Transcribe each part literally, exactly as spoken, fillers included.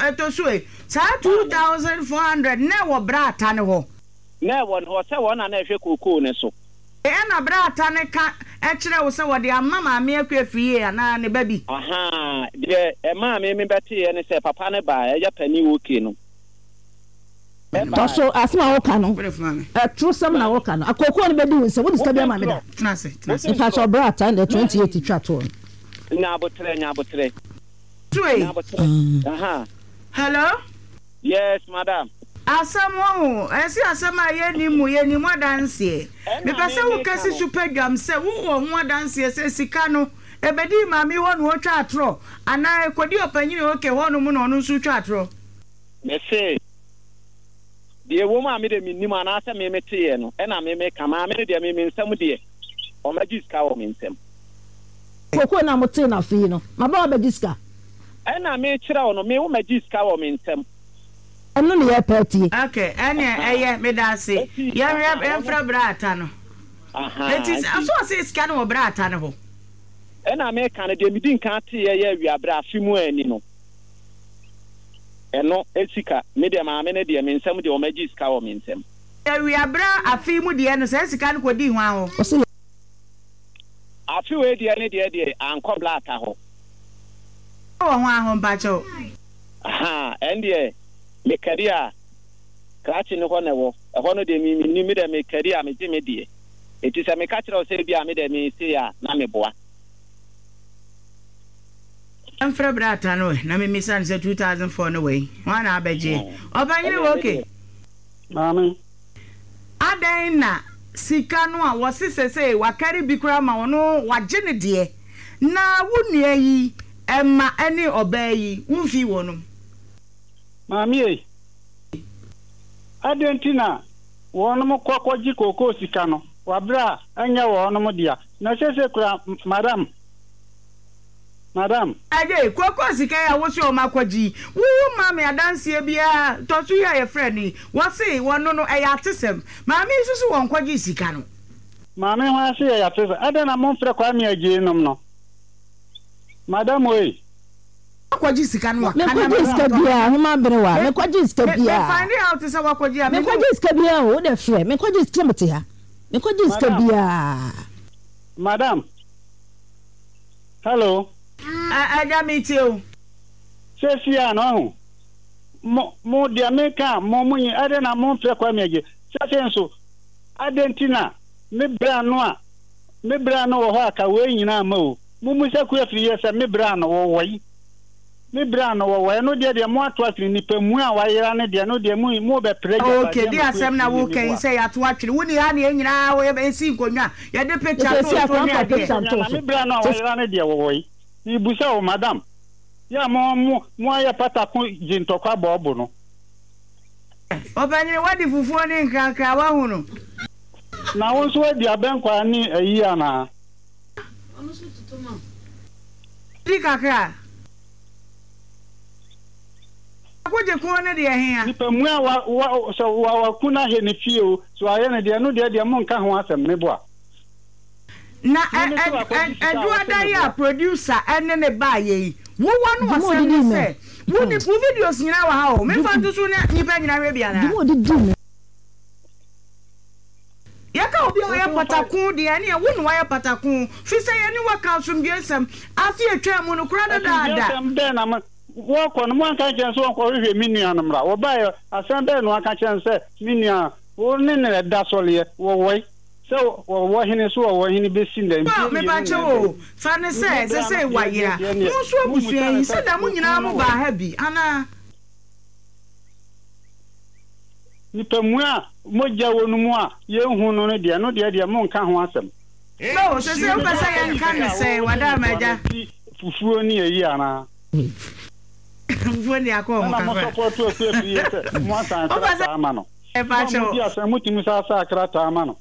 Ɛtɔ so ei, saa two thousand four hundred na ɛwɔ Bra Ata no hɔ. Na ɛwɔ ne hɔ sɛ wɔn na na ɛhwɛ kookoo no so. Ɛna Bra Ata no ka kyerɛɛ wo sɛ wɔde ama Maame Akua Afriyie anaa ne ba bi? Ahaa, deɛ ɛmaa me mebɛteeɛ ne sɛ papa no baa, ɛyɛ panin okay no. Tɔ so, asɛm a woka no, atorosɛm na woka no. Akookoo no bɛdi wo nsam, wode sika bi ama me da. Mpakyɛw bra ata ɛnna twenty eight twa toɔ no. Nya aboterɛ, nya aboterɛ. Nya aboterɛ. Aha. Hello. Yes, madam. Asɛm wahu, ɛse asɛm a yɛnnim mu, yɛnnim adanseɛ. Mepɛ sɛ woka si so pɛ dwam sɛ wowɔ ho adanseɛ sɛ sika no, ɛbɛdii maame hɔ na ɔtwa atorɔ, anaa ɛkɔdii ɔpanyini OK hɔnom na ɔno nso retwa atorɔ. Mese, deɛ ɛwɔ mu a me deɛ mennim anaasɛ me meteeɛ no ɛna me meka, maame no deɛ me me nsam deɛ ɔmmɛgye sika wɔ me nsam. Kookoo no a motee no afe yi no, maba wabɛgye sika. Ɛna mekyerɛ wo no, me wommɛgye sika wɔ me nsam. Ɛno ne yɛrepɛ atie. Ok, ɛneɛ ɛyɛ, medaase. Yɛnhwɛ, yɛmfrɛ Bra Atta no. Enti, so ɔse sika no wɔ Bra Atta no hɔ? Ɛna meka no, deɛ medi nkan teeɛ yɛ awiaberɛ afe mu ani no. Ɛno sika, me deɛ maame no deɛ, me nsam deɛ wɔagye sika wɔ me nsam. Awiaberɛ afe yi mu deɛ no, saa sika no kɔdii hwan hɔ? Ɔse. Afe wei deɛ ne deɛ deɛ, ankɔ Blata hɔ. Wɔ hwan hɔ mpakyɛw? Ahaa, ɛndeɛ mekari a, krakye no hɔ na ɛwɔ. Ɛhɔ no deɛ me mennim, me deɛ mekari a megye me deɛ. Enti sɛ meka kyerɛ wo sɛ ebia me deɛ me sei a, na meboa. Mfrɛ bra ata no ɛ na memmisa no sɛ two thousand four no wɔ he? Hwan na abɛgyeɛ? Ɔpanyini wɔ okay. Maame. Adɛn na sika no a wɔse sesei wakari bi koraa ma ɔno wagye ne deɛ na wo nua yi mma ne ɔbaa yi womfii wɔnom? Maame ei, adɛn nti na wɔnom kɔ kɔgye kookoo sika no wɔ berɛ a ɛnyɛ wɔnom dea? Na sesei koraa madam. Madam. Adjei, kookoo sika yi a wose wɔn akɔgye yi, wo wo mmaa me adanseɛ biara, tɔso yi a yɛfrɛ no yi, wɔse wɔno no ɛyɛ atesɛm. Maame yi nso se wɔnkɔgyee sika no. Maame hwan se ɛyɛ atesɛm? Adɛn na momfrɛ Kwame Adjei nom no? Madam oi. Wakɔgye sika no waka na Menkɔgyee me sika biara, homa berewa, menkɔgyee sika Me me biara. find out sɛ wakɔgye a, me ne wo. Menkɔgyee sika biara o, wo deɛ frɛ, menkɔgyee sika, mete ha, menkɔgyee sika Madam. biara. Madam. Hello. Agya metie wo. Seesei a na wahu. Mo, mo, deɛ meka a, mo, monyi, adɛn na momfrɛ Kwame Agye? Seesei nso, adɛn nti na me bra no a, me bra no wɔ hɔ a ka wei nyinaa mma o? Mommisa Kua Afriyie sɛ me bra no wɔ wai? Me bra no wɔ wai? Ɛno deɛ deɛ moato atwene, nipa mua a wayera no deɛ, ɛno deɛ mo, mobɛpere Ok, agyapadeɛ deɛ ama Kua asɛm na Afriyie, woka yi meboa. sɛ yɛato atwene, wonni ha na yɛn nyinaa yɛsi nkonnwa, yɛde picture Sɛ too si so akora ne mfa adeɛ. picture Nkonnwa nto na so. me bra no a wayera no deɛ wɔ wai? Merebisa wo, madam. Yɛ a mo mo mo ayɛ patako gye ntɔkwa bɔ ɔbo no. Ɔpanyin, woadi fufuo ne nkrakra, woahu no. Na wo nso woadi abɛnkwan ne ayi anaa? Di kakra. Akogye ko no deɛ hea? Nipa mua wa wa sɛ wa waku no ahɛ ne fie o, sɛ wayɛ no deɛ ɛno deɛ deɛ monka ho asɛm, meboa. Na Me me se wakɔgye sika a wɔse Ɛduada yi a meboa. producer ne ne baayɛ yi, wo wɔ no Dwuma asɛm odidi ne me. sɛ, wo ni wo videos nyinaa wɔ ha o, memfa nto so na nnipa nyinaa nhwɛ bi anaa? Dwuma odidi me. Yɛka obi a Wo ɔyɛ se wofa. patako deɛ ɛneɛ wo na wayɛ patako, firi sɛ yɛne wo aka asomdwoeɛ nsɛm afe a ɛtwaa mu no koraa Asomdwoeɛ dadaada. asɛm bɛn na mo wɔkɔ no moanka ankyerɛ no sɛ wɔnkɔhwehwɛ me nua no mmra? Wɔbaeɛ, asɛm bɛn na wɔaka kyerɛ no sɛ me nua wo ne no ɛda sɔleɛ, wɔwɔe? Sɛ wɔwɔ hene so wɔwɔ hene bɛsi nnɛ, Paul, mfeɛ mmienu na mepakyɛw ɛbɛn. o, fa no Me sɛ bra no sesei deɛ wayera. deɛ deɛ neɛ, Mo nso mommisa abusua no yi, sɛ sɛ da mo okunu nyinaa no mo wɔ baa he? ha bi anaa? Nipa mua a mogya wɔ no mu a yɛnhu no no deɛ, ɛno deɛ deɛ monnka ho asɛm. No, sesei Me wopɛ bra sɛ akɔgye yɛnka sika no a, sɛn, wo se Wadaama meboa agya? no ti fufuo ne ayi anaa? Fufuo ne akɔ ho Ɛna mo kakra. sɔpɔto Akuafie sɛ moasan Wopɛ sɛ krataa ama no. Mo a mepakyɛw. modi asɛm motumi san saa krataa ma no.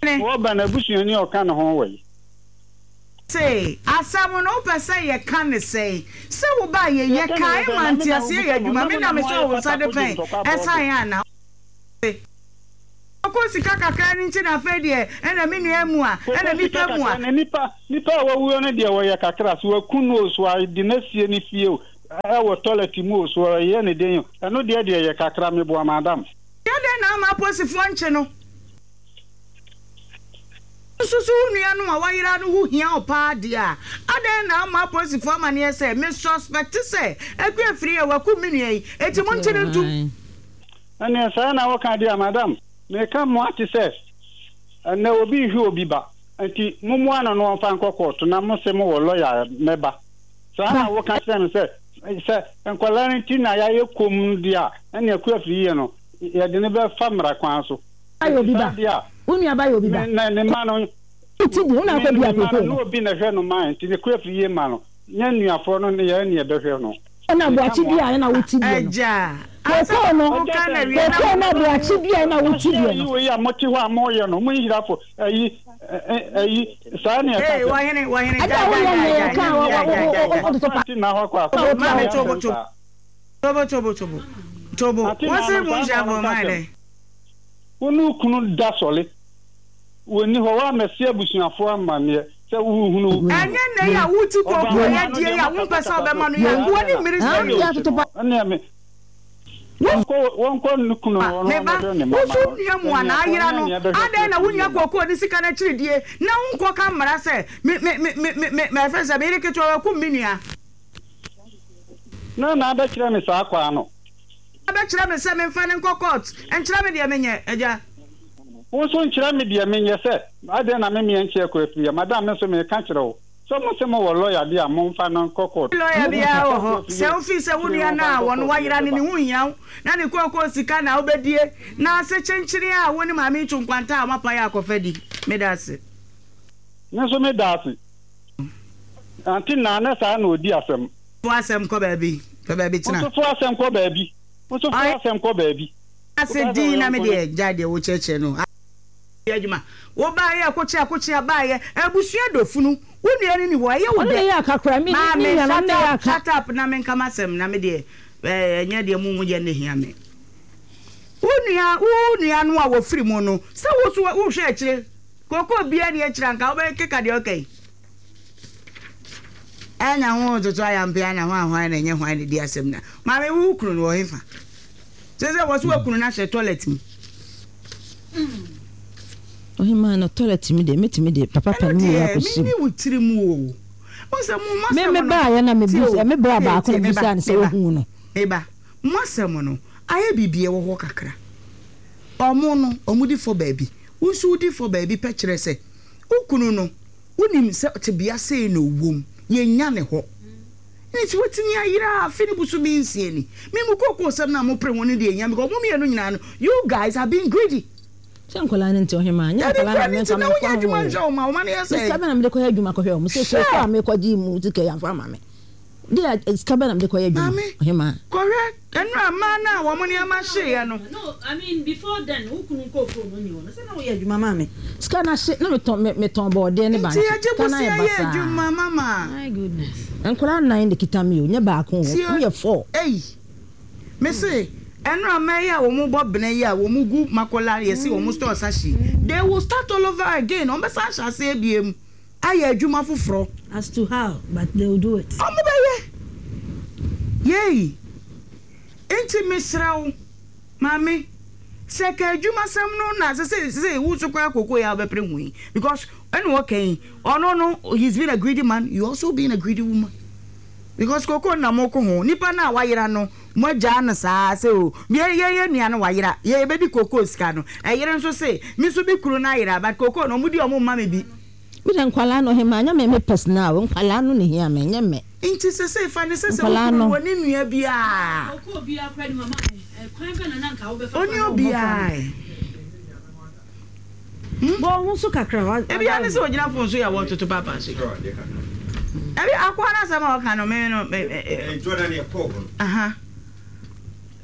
Ne. Wɔba n'abusuani a ɔka ne ho wɔ yi. Se, asɛm no wopɛ sɛ yɛka no sɛn? Sɛ wo ba yɛ yɛ Yɛka no kae sɛn ma na me na nteaseɛ yɛ wobisa mo adwuma na me mo na na me mo sɔɔ ayɛ wo nsa de patako gye pɛn ntɔkwa bɔ ɔbo. ɛsan ana? Se, ɔkɔ sika kakra no nti na afei deɛ ɛna me nua mua ɛna Koko me sika pɛ mua. kakra na nipa nipa a wawuo no deɛ wɔyɛ kakra so waku no o so ade no asie ne fie o Ɛwɔ toilet mu o, so ɔyɛ ne den o, ɛno deɛ deɛ yɛ kakra, meboa madam. Yɛ dɛn na ama apolisifoɔ nkye no? Nso so wo nua no a wayera no ho hia wo paa deɛ a, adɛn na amma apolisifoɔ amaneɛ sɛ, Me suspect sɛ Akua Afriyie wakum me nua yi, enti monkye no ntom? Ɛneɛ saa na woka deɛ a, madam, meka mo ate sɛ ɛnnɛ obi rehwe obi ba, nti mommoa no na ɔmfa nkɔ kɔɔto na mose mowɔ lɔya a mɛba. Saa na woka kyerɛ me sɛ, sɛ nkwadaa no nti na yɛayɛ komm no deɛ a, ɛnneɛ Akuafiri yie no, yɛde no bɛfa mmara kwan so. Yɛ obi Enti saa ba. deɛ a, Wo nua ba yɛ obi me ba. na ne mma no, Wo ti di, wo na me akɔ ne dua me mma no, kookoo ne no. obi na ɛhwɛ no ma yɛn, nti ne Akuafiri yie mma no, nyɛ nnuafoɔ no ne yɛn na yɛbɛhwɛ no. Na Meka aboakye mo dua ase. na wo ti deɛ no. Agya, ansa Kookoo na no, Agya woka sɛ no awie na kookoo no aboakye dua na wo ti Ahyɛ deɛ ayi no. wei a mote hɔ a moyɛ no, mo nhirafo, ayi, ɛ, ayi, saa ne ɛka Hey, kyerɛ. wɔhene, wɔhene, Ɛda gyae, a gyae, woyɛ gyae, nea gyae, yɛka a gyae, gyae, gyae, gyae. wototo pa. Ante na hɔ kɔ akɔ Wo Maame, akɔ tobo, asɛm tobo, saa. tobo, tobo, tobo, tobo. Ante na Wɔse no mo saa nhyia na fo ɔno ka mayɛ kyerɛ. dɛn? Wo ne wo kunu da sɔle, wɔnni hɔ, woammɛse abusuafoɔ amanneɛ sɛ worehunu wo kunu no. Ɛnyɛ nnɛ yi a wote Ɔbaa kooko a no ano yɛadie deɛ yi a wompɛ sɛ mokatakata wobɛma so, no yi a, saa nkoa deɛ ne na mmiri Ah, sɛ ɛne yo. yɛ ɔkyi atoto no, pa. ɛneɛ me, Wo wɔnkɔ, wɔnkɔ ne kunu ba, hɔ na me ba, ɔmmɛhwɛ ne wo mma nso ma wo no, nua mu anaa anuafoɔ ayera ne no, nea ɛbɛhwɛ adɛn na kuro wonnya yie no. kooko ne sika no akyiridie na wonkɔka mmara sɛ me, me, me, me, me, me, ɛfrɛ sɛ me yere ketewa wakum me nua? Na na abɛkyerɛ me saa kwan no. Abɛkyerɛ me sɛ memfa no nkɔ court, nkyerɛ me deɛ menyɛ, agya. Wo nso nkyerɛ me deɛ menyɛ sɛ adɛn na me meɛ nkyɛ kɔ afiri a, madam me nso meka kyerɛ wo sɛ mo se mo wɔ lawyer deɛ a momfa no nkɔ court. Lawyer Mo biara nfa wɔ hɔ, kɔ sɛ afiri wofii sɛ wo kyerɛ nua no wɔmfa a nkɔ wɔn court wayera no ne yɛbɛba. ho nhia wo, na ne kookoo sika na wobɛdie, na ase kyenkyene a wo ne maame yi to nkwanta a moapae akɔfa di. Meda ase. Me nso meda ase. Ante Naa na saa na ɔdi asɛm. Fo asɛm kɔ baabi, pɛ baabi Wo tena. nso fo asɛm kɔ baabi. Wo nso fo Ɔyɛ asɛm kɔ baabi. ase Wokaa sɛ wo din na me yɔnko ne. deɛ gyae deɛ wokyerɛkyerɛ no. Yɛ adwuma. Wo baeɛ akokyea akokyea baeɛ abusua dɔ funu wo nua no ni hɔ ɛyɛ wo Ɔno dɛ. na ɛyɛ aka koraa me ne Maame nua no ɔno shut na ɛyɛ up aka. shut up na menka m'asɛm na me deɛ ɛɛ ɛnyɛ deɛ mo mo yɛ no hia me. Wo nua wo nua no a wɔfiri mu no sɛ wo so wohwɛ akyire kookoo biara ni akyire anka wobɛkeka deɛ ɔka yi. Ɛna ho toto ayampea na hwan hwan na ɛnyɛ hwan na di asɛm na maame wo kunu no wɔ hefa sɛ sɛ wɔ so wakunu no ahyɛ toilet mu. Ɔhemaa no toilet mu deɛ mɛtumi de papa Ɛno pa no mu wei deɛ akɔhyɛ mu. menni wo tiri mu o. Wohu sɛ mo mo Me asɛm me no baeɛ na me tie bisa o me bra tie baako tie na me ba bisa no sɛ me ba wahu no. me ba mo asɛm no ayɛ biribi ɛwɔ hɔ kakra. Ɔmo no ɔmo di fɔ baabi wo nso wodi fɔ baabi pɛ kyerɛ sɛ wo kunu no wonim sɛ tebea sei na ɔwɔ mu yɛnnya ne hɔ nti watumi ayera afe ne bosome nsia ni. Me mo kookoo sɛm no a mopere ho no deɛ ɛhia because mo mmienu nyinaa no you guys are being greedy. Sɛ nkwadaa no nti ɔhemaa nyɛ Dabi nkwadaa na nkwadaa no menka nti na memfa wonya ho adwuma o. nhwɛ wɔn ma wɔn ano yɛ Me sika sɛn. bɛn na mede kɔyɛ adwuma kɔhwɛ wɔn sɛ kookoo a Hwɛ! mekɔgye mu sika yi amfa ama me. Deɛ sika bɛn na mede kɔyɛ adwuma Maame, ɔhemaa. kɔhwɛ nnura mmaa no a wɔn nneɛma hyeeɛ no. No, I mean before then, wo kunu nkɔɔ kurom no nni hɔ no, sɛ na woyɛ adwuma maa me. Sika no ahye na metɔn me metɔn bɔɔdeɛ ne Nti bankye. yɛgye Sika no bosea ayɛ yɛ basaa. adwuma mama. My goodness. Nkwadaa nnan na ɛkita me o, nyɛ baako o, Tie wɔn yɛ four. ei, me se nnura mmaa yi a wɔn bɔ bena yi a wɔn gu Makola yɛse wɔn stores ahye yi, they will start all over again, wɔn bɛsan ahyɛ aseɛ biem ayɛ adwuma foforɔ. As to how, but they will do it. Wɔn bɛyɛ. Yei. Nti mesrɛ wo, maame, sɛ ka adwumasɛm no na sɛ sɛ sɛ wo so koraa koko yi a wobɛpere ho yi because ɛna ɔka yi ɔno no he's been a greedy man, you also been a greedy woman because koko na moko ho nipa no a wayera no mo agyaa no saa sɛ o yɛ yɛ yɛ nua no wayera yɛ yɛbɛdi koko sika no ɛyere nso se me nso bi kunu no ayera but koko no ɔmo di ɔmo mma me bi. Me de nkwadaa no ɔhemaa nyɛ me me personal o nkwadaa no na ehia me nyɛ me. Nti sesei fa no sɛ sɛ wo Nkwadaa kunu no. no ɔne nua biaa ɔne obiaa ɛ hmm Bɔ wo ho so kakra wa Ebia ne sɛ ogyina phone so yɛ wɔtoto paapa so yi Ebi akoa no asɛm a ɔka no me no me Eh, Jordan yɛ kɔɔ hɔ no. Aha.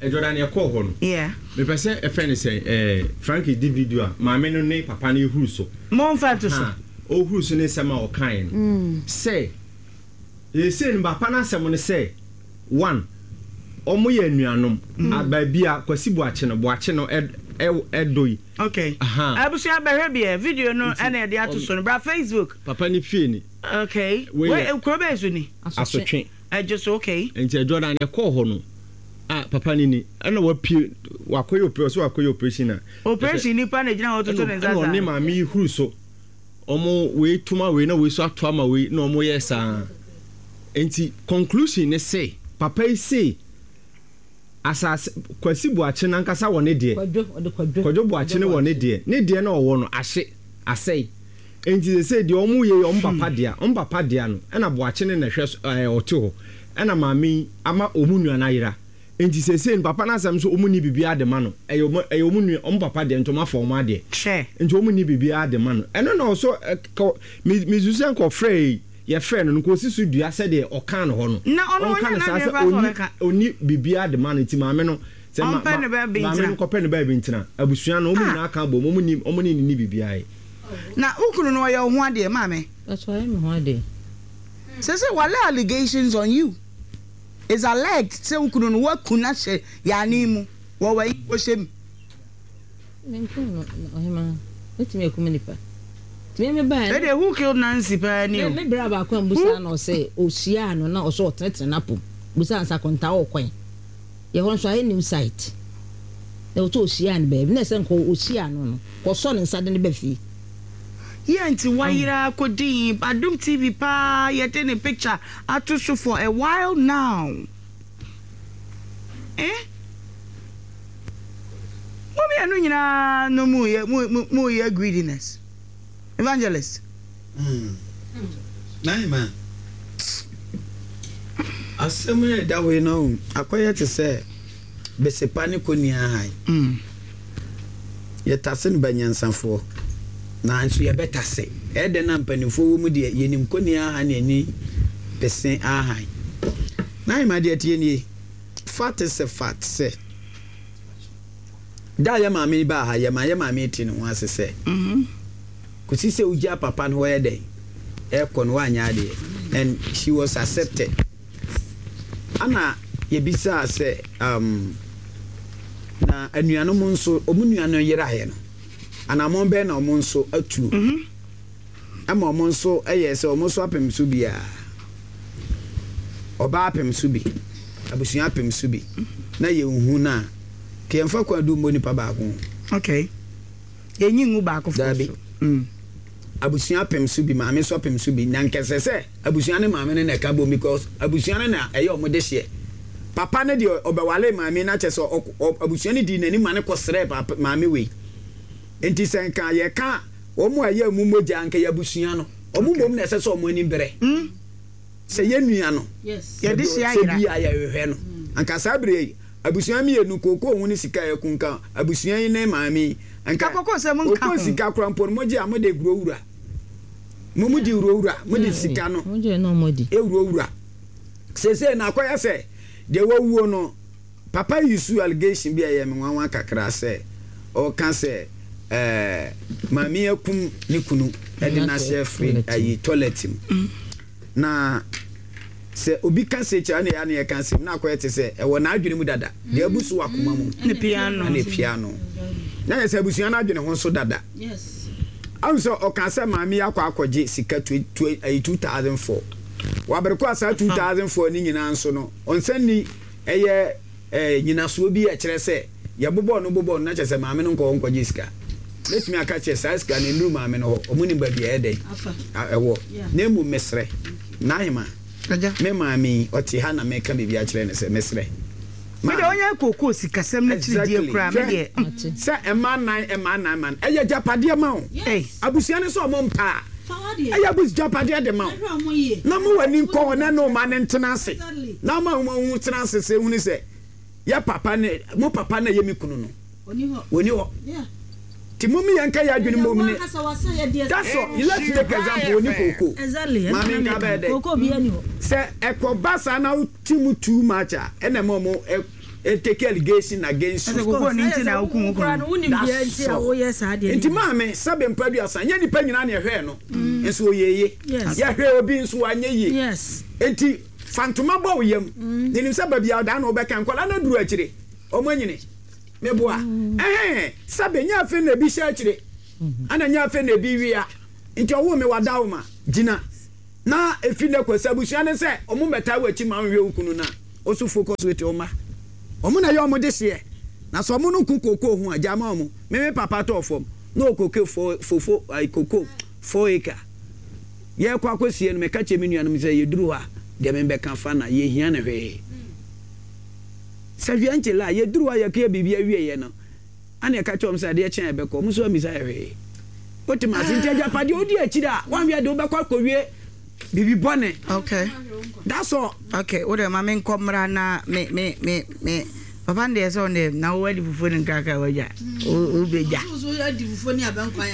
Eh, Jordan yɛ kɔɔ hɔ no. Yeah. Mepɛ sɛ ɛfɛ ne sɛ eh, Frankie di video a maame no ne papa no ehuru so. Momfa nto so. Ha, ohuru so ne nsɛm a ɔkaeɛ no. Sɛ, seesei no papa no asɛm no sɛ, one, wɔn yɛ anuanom. A, baabi a Kwasi Boakye no, Boakye no ɛ, ɛ, ɛdɔ yi. Okay. Aha. Abusua bɛhwɛ bi ɛ, video no Nti, ɛna yɛde ato ɔm, so no. Bra Facebook. Papa no fie ni. Okay. Wei Wei, yɛ kuro bɛn so ni? Asotwe. Ɛdwo so, okay. Nti Adwoada no ɛkɔɔ hɔ no a, papa no ni ɛna wapie wakɔyɛ operation, ɔsɛ wakɔyɛ operation a operation nipa na gyina hɔ toto ne nsa. Ɛna ɔne saa maame yi huru so, ɔmo wei tuma wei na wei so ato ama wei na ɔmo yɛ saa. Nti conclusion ne se papa yi se asase Kwasi Buakye nankasa wɔ ne deɛ. Kwadwo, ɔde Kwadwo. Kwadwo Buakye ne wɔ ne deɛ, ne deɛ na ɔwɔ no ahye asɛe. Nti sɛ sɛ deɛ ɔmo yɛ yi, ɔmo papa dea, ɔmo papa dea no ɛna Buakye ne na ɛhwɛ so, ɛɛ ɔte hɔ ɛna maame yi ama ɔmo nua no ayera. Nti sɛ sɛ no papa n'asɛm so, ɔmo ni biribiara de ma no, ɛyɛ ɔmo ɛyɛ ɔmo nua, ɔmo papa deɛ, nti ɔmo afa ɔmo adeɛ. Hwɛ. Nti ɔmo ni biribiara de ma no. Ɛno na ɔso ɛ kɔ mi mi susu sɛ nkɔfrɛ yi, yɛfrɛ no no nka osi so dua sɛdeɛ ɔka no hɔ no. Na ɔno ɔnka ɔnyɛ no saa n'adwene sɛ koraa sɛ ɔni ɔbɛka. Ɔni biribiara de ma no. Nti maame no sɛ ma ɔmpɛ ma ne baabi maame ntena. No kɔpɛ ne baabi ntena. Abusua no ɔmo Ah. nyinaa ka bɔ mu, ɔmo ni ɔmo ne ne ni biribiara yɛ. Na wo kunu no, ɔyɛ wo ho adeɛ, maame? Ɔtɔ ayɛ me ho adeɛ. sɛ sɛ wale allegations on you is alleged sɛ wo kunu no waku no ahyɛ yaane mu wɔ wayi wɔhyɛ mu. Menkum no, ɔhema. Mɛtumi akum nipa tumi me baa. Ɛdeɛ, who killed Nancy paa ni o. Me bra baako a mbusa na ɔsɛ ohyia no na ɔsɛ ɔtenetene n'apom busa nsa kɔnta wɔ kwan yɛ hɔ nso ayɛ new site na ɔtɔ ohyia no baabi na ɛsɛ nkɔ ohyia no no kɔsɔ ne nsa de ne ba fie. Yɛ nti wayera akɔdin Adom T V paa, yɛde ne picture ato so for a while now. Eh, mo mmienu nyinaa no mu yɛ mu mu mu yɛ greediness, Evangelist. Naima, asɛm no ɛda hɔ yi no, akɔyɛ te sɛ besepa ne kɔnua han. Mm. Yɛtase no banyansafoɔ, nanso yɛbɛtase ɛyɛ dɛn na mpanimfoɔ wɔ mu deɛ, yɛnim kɔnua ahan ne ani bese ahan. Naima, deɛ tie nie, fact sɛ fact sɛ da yɛ maame yi baa ha, yɛ ma yɛ maame yi te ne ho ase sɛ Mm-hmm. kòsi sɛ wogya papa no hɔ yɛ dɛn ɛkɔ no, wanyɛ adeɛ, and she was accepted. Ana yɛbisaa sɛ um, na anuanom nso, ɔmo nua no yeraeɛ no, anammɔn bɛn na ɔmo nso atu Mm-hmm. ama ɔmo nso ɛyɛ sɛ ɔmo nso apem so biara, ɔbaa apem so bi, abusua apem so bi, na yɛnhu no a ka yɛmfa kwan du mmɔ nipa baako ho. Okay, yɛnyi ngu baako fo. Dabi. So mm. Abusua apem so bi, maame nso apem so bi, na nkɛsɛ sɛ abusua ne maame no na ɛka bom, because abusua no na ɛyɛ ɔmo de hyeɛ. Papa no deɛ, ɔbɛwale maame no akyɛ sɛ ɔk- ɔ- abusua no di n'anim ma ne kɔsrɛ papa maame wei. Nti sɛ nka yɛka wɔn a ɛyɛ mu mogya, nka yɛ abusua no, ɔmo mmom na ɛsɛ sɛ ɔmo anim brɛ Mm. sɛ yɛ nua no. Yes. Yɛde hyɛ sɛ ayera. bi a yɛhwehwɛ no, anka saa bere yi abusua mmienu kookoo ho ne sika a ɛkunka abusua yi ne maame yi anka Ka kookoo sɛ monka kookoo ho. Sika kora mpo no, mogye a mode wurawura mo, mo di wurawura, mode sika no mo gye na ɔmo di. Ewurawura seesei na akɔyɛ sɛ deɛ wawuo no. Papa yi su allegation bi a ɛyɛ me nwanwa kakra sɛ ɔka sɛ ɛɛ maame akum ne kunu ɛde n'ahyɛ firi ayi toilet mu. Na sɛ obi ka se kyerɛ ne ya ne yɛka asɛm na akɔyɛ te sɛ ɛwɔ n'adwene mu dada, deɛ abu so wɔ akoma mu ne piano. Ɛna piano na yɛ sɛ abusua no adwene ho nso dada. Yes. Ahu sɛ ɔka sɛ maame yi akɔ akɔgye sika ayi two thousand four, wabere kɔ asa two thousand four ne nyinaa nso no, ɔnsan ni ɛyɛ ɛɛ nyinasoɔ bi a ɛkyerɛ sɛ yɛbobɔ no bobɔ no na kyerɛ sɛ maame no nkɔ hɔ nkɔgye sika. Mɛtumi aka kyerɛ saa sika no nnuru maame no hɔ, ɔmo nim baabi a ɛyɛ dɛn afa a- ɛwɔ. Yeah. Na emu mesrɛ n'ahema Agya. Me maame yi ɔte ha na meka biribi akyerɛ no sɛ mesrɛ. Mede ɔnyɛ kookoo sikasɛm no kyiridie koraa me deɛ. Ate. Sɛ ɛma nan ɛma nan ma no ɛyɛ gyapadeɛ ma wo. Ei. Abusua no sɛ ɔmo mpa a fa wadeɛ. Ɛyɛ abus gyapadeɛ de ma wo. Ɛhwɛ ɔmo yie. Na mo w'ani nkɔ hɔ na ne ɔma ne ntena ase. Exactly. Na ɔma ho ho tena ase sɛ ehunu sɛ yɛ papa ne mo papa na ɛyɛ me kunu no oni hɔ. Wɔni hɔ. Yeah. Ti mo mi yɛn ka yɛ adwene mom ne Ɛyɛ wɔn ankasa wasa yɛ deɛ. That's all. Let's take example, oni kooko. Exactly. Maame nka bɛyɛ dɛ Kookoo bi ani hɔ. Sɛ ɛkɔba saa na wote mu too much a, ɛna ɛma ɔmo ɛ ɛ take allegation against you. Ɛsɛ kookoo ne nti na wokum wo kunu no. Wonim deɛ nti a woyɛ saa deɛ. Nti maame, sɛbe mpa duasa nyɛ nipa nyinaa na ɛhwɛɛ no nso ɔyɛ yie. Yes. Yɛhwɛ obi nso wanyɛ yie. Yes. Nti fa ntoma bɔ wo yam nenim sɛ baabi a ɔdaa na wobɛka nkwadaa no aduru akyire, ɔmo anyini meboa ɛhɛn. Sɛbe nyɛ afei na ebi hyɛ akyire ana nyɛ afei na ebi wia, nti ɔwo me wada wo ma gyina. Na efi ne kɔ sɛ abusua ne sɛ ɔmo mmɛtaa wɔ akyi ma nhwɛ wo kunu no a, ɔso focus with ɔma. Ɔmo na ɛyɛ ɔmo de hyeɛ. Na sɛ ɔmo no ko kokoo ho a, gya ma ɔmo. Me me papa tɔɔ fam na ɔkoke four fofo ayi koko four acre. Yɛrekɔ akɔsie no, meka kyerɛ me nuanom sɛ yɛduru hɔ a, deɛ mebɛka fa na yɛhia no hwee. Sɛ hwee nkyele a, yɛduru hɔ a yɛkɔyɛ biribi awieɛ no, ana yɛka kyerɛ wɔn sɛ adeɛ kye a yɛbɛkɔ, wɔn nso ammisa yɛ hwee. Wote me ase? Nti agyapadeɛ wodi akyire a, woanhwɛ deɛ wobɛkɔ akɔwie biribi bɔne. Okay. That's all. Okay, wo deɛ ma me nkɔ mmra na me me me me papa no deɛ sɛ ɔno deɛ na wo adi fufuo ne nkrakra wadwa wo bɛgya.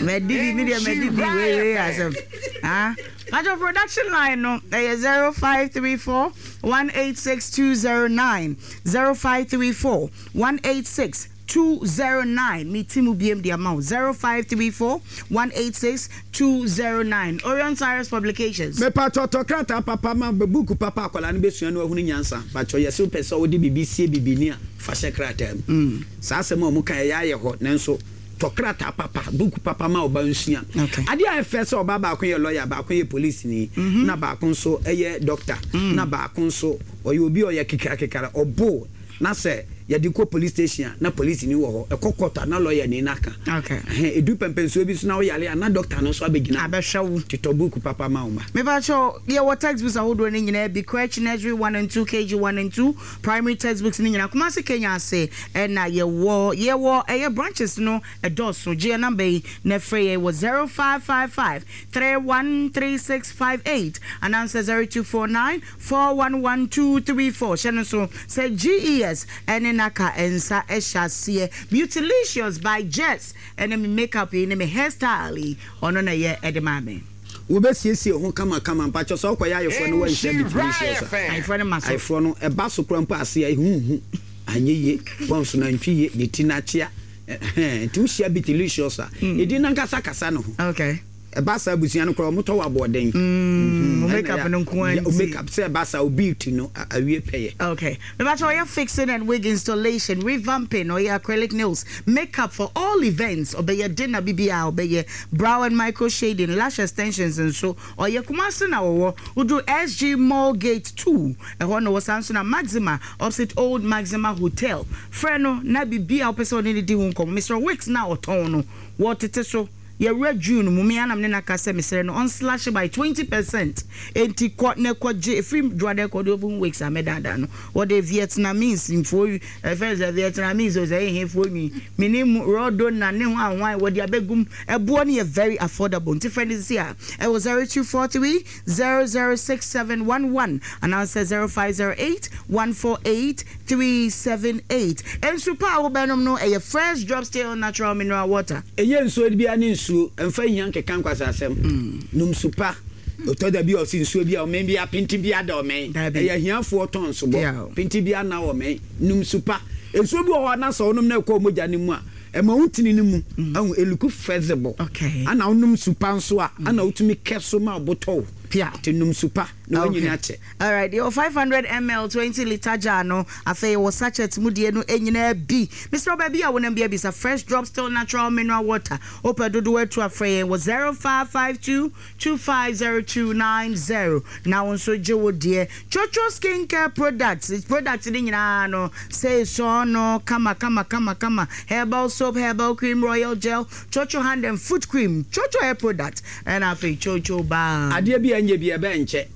Madi bi me deɛ madi bi wei wei asɛm. Ah, Pacho production line no ɛyɛ zero five three four one eight six two zero nine zero five three four one eight six two zero nine me ti mu biem de ama wo zero five three four one eight six two zero nine Orion Cyrus Publications. Mepakyɛw tɔ krataa papa ma book papa akwadaa no bɛsua na wahunu nyansa pakyɛw yɛse wopɛ sɛ wode biribi sie bibini a fa hyɛ krataa mu saa asɛm a wɔka ɛyɛ ayɛ hɔ nanso tɔ krataa papa book papa ma ɔba nsua adeɛ a ɛfɛ sɛ ɔba baako yɛ lawyer baako yɛ polisini na baako nso yɛ doctor na baako nso ɔyɛ obi a ɔyɛ kekrakekra ɔbo Na sɛ yɛde kɔ police station a, na polisini wɔ hɔ, ɛkɔ court a, na lɔyani no aka. Ɛhɛn, ɛdu pɛmpɛnsoɔ bi so na woyare a, na doctor no nso abɛgyina hɔ. Abɛhwɛ wo. Nti tɔ book papa ma wo mma. Mepakyɛw, yɛwɔ textbooks ahodoɔ no nyinaa bi, Crèche, Nursery one and two, K G one and two, Primary textbooks no nyinaa. Kumasi Kenya ase na yɛwɔ. Yɛwɔ ɛyɛ branches no ɛdɔɔso. Gye yɛn number yi na frɛ yɛn wɔ zero five five five three one three six five eight anaasɛ zero two four nine Four one one two three four Hyɛ no nso sɛ G E S ne Naka nsa hyɛ aseɛ. Beautylicious by Jess ne me makeup yi ne me hairstyle yi ɔno na ɛyɛ de maa me. Wobɛsiesie ho kamakama. Mpakyɛw sɛ wokɔyɛ ayeforɔ na woanhyia Beautylicious a, Ayeforɔ no ma so. ayeforɔ no ɛba so koraa mpo a ase a ɛho nhu, anyɛ yie, pɔnso no antwi yie, ne ti no akyea, ɛhɛn, nti wohyia Beautylicious a, edin no ankasa kasa ne ho. Okay. Ɛba saa abusua no koraa wɔn tɔ wɔ aboɔden. Mm, o makeup no nko ara nti. Makeup sɛ ɛba saa o beauty no awie pɛyɛ. Okay. Mebakyɛ ɔyɛ fixing and wig installation, revamping, ɔyɛ acrylic nails, makeup for all events, ɔbɛyɛ dinner bibiaa ɔbɛyɛ, brow and micro shading, lash extensions nso ɔyɛ. Kumasi na ɔwɔ, woduru S G Mall gate two ɛhɔ na ɔwɔ, saa nso na Maxima opposite old Maxima Hotel. Frɛ no na bibiaa wopɛ sɛ ɔne no di ho nkɔmmɔ. Mesrɛ wo wigs no a ɔtɔn no wɔtete so. Yɛwura June mu, me ara na me ne no aka sɛ mesrɛ no ɔnslash by twenty percent. Enti kɔ na kɔ gye, ɛfiri Dwoada kɔ deɛ wobɛhu wigs a mɛdaadaa no. Wɔde Vietnamese mfoɔ, ɛfɛ no sɛ Vietnamese o sɛ ɛyɛ hefoɔ nwi, menim Rodona ne hwan hwan, wɔde abɛgu mu. Ɛboɔ no yɛ very affordable, nti frɛ no sisi a ɛwɔ zero two four three zero zero six seven one one anaasɛ zero five zero eight one four eight three seven eight. Nsu pa a wobɛnom no ɛyɛ Fresh Drops Still Natural Mineral Water. Ɛnyɛ nsuo biara ne nsuo, mfa hia nkeka nkwaseasɛm. Nom su pa. Ɔtɔ da bi a ɔse nsuo bi a ɔmɛn biara pente biara da ɔmɛn. Ɛyɛ ahiafoɔ tɔn sobɔ. Pente biara nna ɔmɛn. Nom su pa. Nsuo bi wɔ hɔ a na sɛ wonom na ɛkɔ wo mogya no mu a, ɛma wo ntini no mu ahu, ɛluku flexible. Ana wonom su pa nso a, ana wotumi kɛ so ma wo bo tɔ wo. Nti nom su pa na woanyini akyɛ. Alright, yɛwɔ five hundred ml twenty litre jar no, afei yɛwɔ sachet mu deɛ no nyinaa bi. Mesrɛ wo baabi a wonam biara bisa Fresh Drop Still Natural Mineral Water. Wopɛ dodoɔ atu a frɛ yɛn wɔ zero five five two two five zero two nine zero na wo nso gye wo deɛ. Chocho Skin Care Products, products no nyinaa no seesɔɔ no kama kama kama kama, herbal soap, herbal cream, royal gel, Chocho hand and foot cream, Chocho hair product ɛna afei Chocho balm. Adeɛ bi a ɛnyɛ bi a ɛbɛyɛ nkyɛ.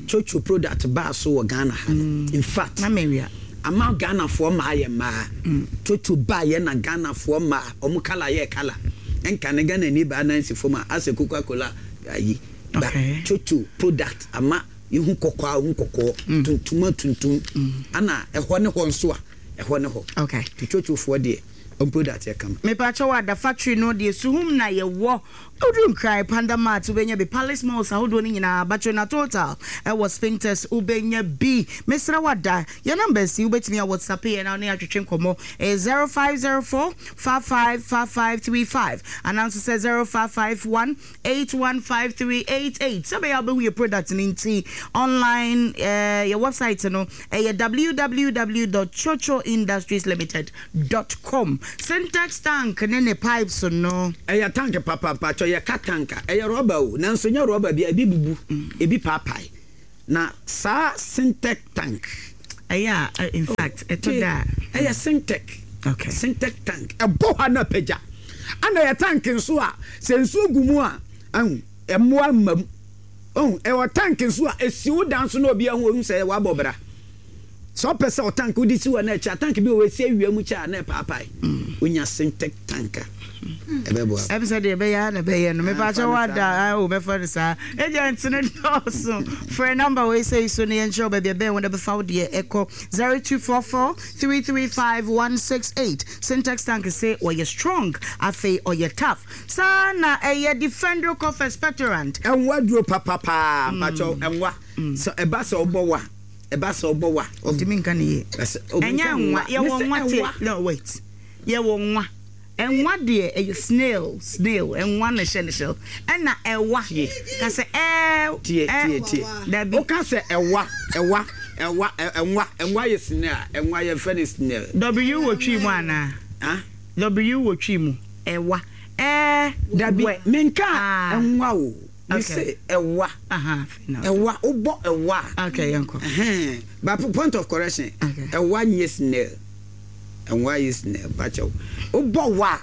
Chocho product baa so wɔ Ghana ha no, in fact, ama Ghanafoɔ mmaa yɛ mmaa. Chocho baeɛ na Ghanafoɔ mmaa, wɔn colour yɛɛ colour. Ɛnka ne Ghanani baa nan si fam a, asɛ Coca Cola ayi. But Chocho product ama yɛhu kɔkɔɔ a, wohu kɔkɔɔ, tuntum a tuntum, ɛna ɛhɔ ne hɔ nso a, ɛhɔ ne hɔ. Nti Chochofoɔ deɛ, wɔn product yɛ kama. Mepakyɛw Ada factory no deɛ suhum na yɛwɔ. Woduru Nkran Panda Mart wobɛnya bi, Palace Malls ahodoɔ no nyinaa, Batrina Total ɛwɔ Spintex wobɛnya bi. Mesrɛ wo Ada, yɛn numbers yi wobɛtumi a WhatsApp yɛn na wo ne yɛn atwetwe nkɔmmɔ. Ɛyɛ zero five zero four five five five five three five anaa nso sɛ zero five five one eight one five three eight eight. Sɛ ɛbɛyɛ a wobɛhu yɛn product no nti, online eh, yɛn website no ɛyɛ www dot chocho industries limited dot com. Sintex tank ne ne pipes no. Ɛyɛ tank papa mpakyɛw yɛka tank a ɛyɛ rɔba o nanso nyɛ rɔba bia ebi bubu ebi paapae na saa sintec tank. Ɛyɛ a in fact ɛtɔ da a. Ɛyɛ sintec okay sintec tank ɛbɔ hɔ a na apagya ɛna ɛyɛ tank nso a sɛ nsuo gu mu a ahu mmoa mma mu ohu ɛwɔ tank nso a esi wo dan so na obi ahu ohu sɛ wabɔ bra. Sɛ ɔpɛ sɛ ɔtank wode si hɔ na ɛkyɛ a, tank bi wɔ hɔ ɛsi awia mu kyɛ a na ɛpaapae. Wonya Syntec tank a, ɛbɛboa wo. Ɛm sɛ deɛ ɛbɛyɛ ara na ɛbɛyɛ no. Ah, Mepakyɛ fa no wada saa. ah oh mɛfa no saa. Agent no dɔɔso. Frɛ number wei sei so na yɛnkyerɛ wo baabi a ɛbɛn wo na bɛfa wo deɛ ɛkɔ zero two four four three three five one six eight. Syntex tank se ɔyɛ strong afei ɔyɛ tough. Saa na ɛyɛ Defendro Cough Expectorant. Ɛnwa duro papa paa mpakyɛw ɛnwa sɛ ɛba sɛ wobɔ wa. Ɛba sɛ ɔbɔ wa. Ɔntumi nka ne yie. Ɛnyɛ nwa. Yɛwɔ nwa te. No wait. Yɛwɔ nwa. Nwa deɛ ɛyɛ snail snail nwa na ɛhyɛ ne shell. Ɛna ɛwa. Tie. Ka sɛ ɛɛ. Tie tie tie. Dabi. Woka sɛ ɛwa ɛwa ɛwa ɛnwa ɛnwa yɛ snail a ɛnwa yɛfrɛ no snail. W wɔ twi mu anaa? Ah? W wɔ twi mu. Ɛwa. Ɛɛ. Dabi. Wɛ. Menkaa nwa o. Me se ɛwa ɛwa wobɔ ɛwa a. Okay yɛn kɔ. Ɛhɛn but point of correction ɛwa nyɛ snail ɛwa yɛ snail bakyɛw wobɔ wa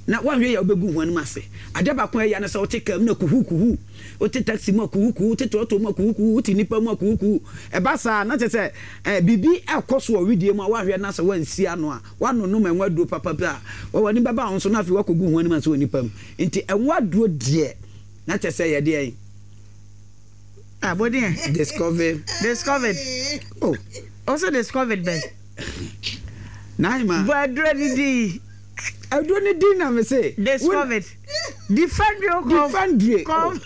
na wanhwɛ yɛ wobɛgu ho anim ase adeɛ baako a ɛya ne sɛ wote kaa mu na kuhu kuhu wote taxi mu a kuhu kuhu wote trɔtrɔ mu a kuhu kuhu wote nipa mu a kuhu kuhu ɛba saa na kyerɛ sɛ ɛɛ biribi ɛkɔ so wɔ wedeɛ mu a wanhwɛ na sɛ wansi ano a wanonom ɛnwa aduro papa bi a w'ani bɛba ho so na afei wakɔgu ho anim ase wɔ nipa mu nti ɛnwa aduro deɛ Na kyɛ sɛ yɛ deɛn? Ah, bo deɛn? Discover. Discovered. Oh. Also discovered bɛn? Naima. Bɔ aduro ni din. Aduro ni din na me se. Discovered. Defendrio cough. Defendrio. Cough.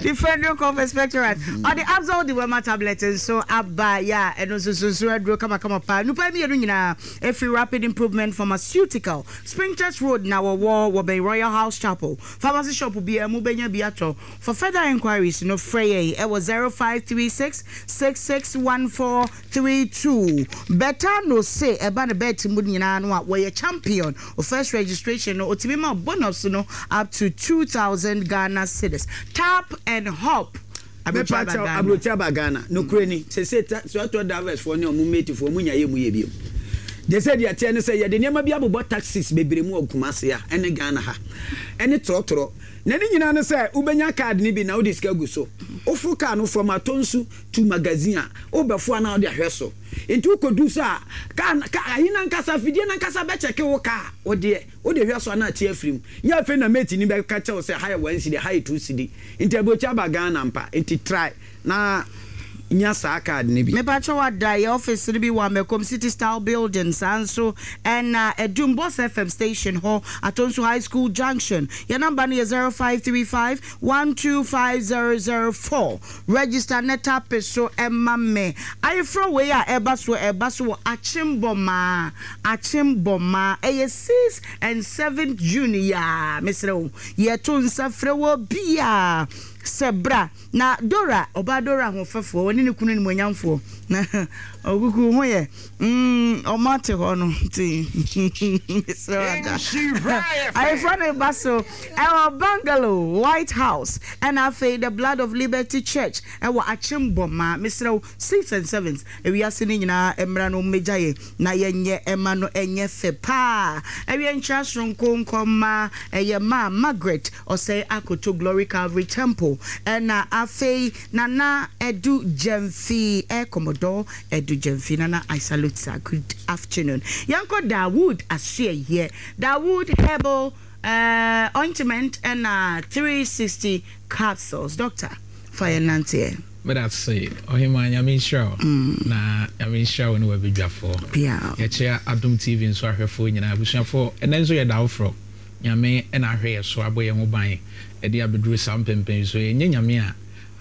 Defendrio cough expectorant. Ɔde Absol dewormer tablet nso aba yɛ a ɛno nso nso aduro kamakama paa. Nnipa mmienu nyinaa efiri Rapid Improvement Pharmaceutical. Spintex Road na wɔwɔ, wɔbɛn Royal House Chapel. Pharmacy shop biara mu wobɛnya bi atɔ. For further enquiries no frɛ yɛn wɔ zero five three six six six one four three two. Betano se ɛba no bet mu nyinaa no a wɔyɛ champion. Wo first registration no otumi ma wo bonus no up to two thousand Ghana cedis. Tap and hop. Aburokyire aba Mepakyɛw, Ghana. aburokyire aba Ghana. Nokorɛ ni, seesei ta, trɔtrɔ drivers foɔ ne wɔn mate foɔ, wɔn nya yɛ mu yɛ bio. Gye sɛ deɛ ɛteɛ ne sɛ, yɛde nneɛma bi abobɔ taxis bebree mu wɔ Kumasi ha ne Ghana ha, ɛne trɔtrɔ. Na ne nyinaa ne sɛ, wobɛnya card no bi na wode sika agu so. Woforo car no from Atonsu to Magazine a, wobɛfo a na wode ahwɛ so. Nti wokɔdu so a, car no, car, ayi no ankasa, afidie no ankasa bɛkyɛke wo car, wodeɛ, wode hwɛ so a na ate afiri mu. Nyɛ afei na mate no bɛka kyerɛ wo sɛ ha yɛ one cedi, ha yɛ two cedi. Nti aburokyi aba Ghana ampa, nti try na nya saa card no bi. Mepakyɛw ada yɛ office no bi wɔ Amakom city style building saa nso ɛna Adum Boss F M station hɔ Atonsu high school junction yɛ number no yɛ zero five three five one two five zero zero four register ne tape so ɛma me ayeforɔ wei a ɛba so ɛba so wɔ Akyembɔmaa Akyembɔmaa ɛyɛ six and seven June yi aa mesrɛ wo yɛto nsa frɛ wɔ biaa sɛ bra na Dora, ɔbaa Dora ahoɔfɛfoɔ, ɔne ne kunu animuonyamfoɔ, na ɔkuku ho yɛ, mm, ɔmo ate hɔ no, nti, mesrɛ wo ada. Ayeforɔ no reba so ɛwɔ Bungalow, White House, ɛna afei The Blood of Liberty Church ɛwɔ Akyem-Bɔmaa. Mesrɛ wo, six and seventh, ewiase no nyinaa mmra na wɔmmɛgya yɛn na yɛnyɛ ɛma no ɛnyɛ fɛ paa. Ɛwiɛ nkyea soronko nkɔma ɛyɛ maa Margaret Ɔsɛe Akoto Glory Calvary Temple ɛna afei Nana Adu Gyamfi eh Commodore Adu Gyamfi Nana I salute sir good afternoon Yɛnkɔ Dawood Asoɛeɛ Dawood Herbal eh Ointment ɛna three sixty Capsules Doctor fa yɛn nanteɛ. Medase Ɔhemaa Nyame nhyira wo na Nyame nhyira wo ne w'abadwafoɔ. Yɛkyea Adom T V nso ahwɛfoɔ nyinaa abusuafoɔ ɛnɛ nso yɛda wo frɔ Nyame na ahwɛ yɛ so abɔ yɛn ho ban de abɛduru saa mpɛnpɛn yi so. Ɛnyɛ Nyame a,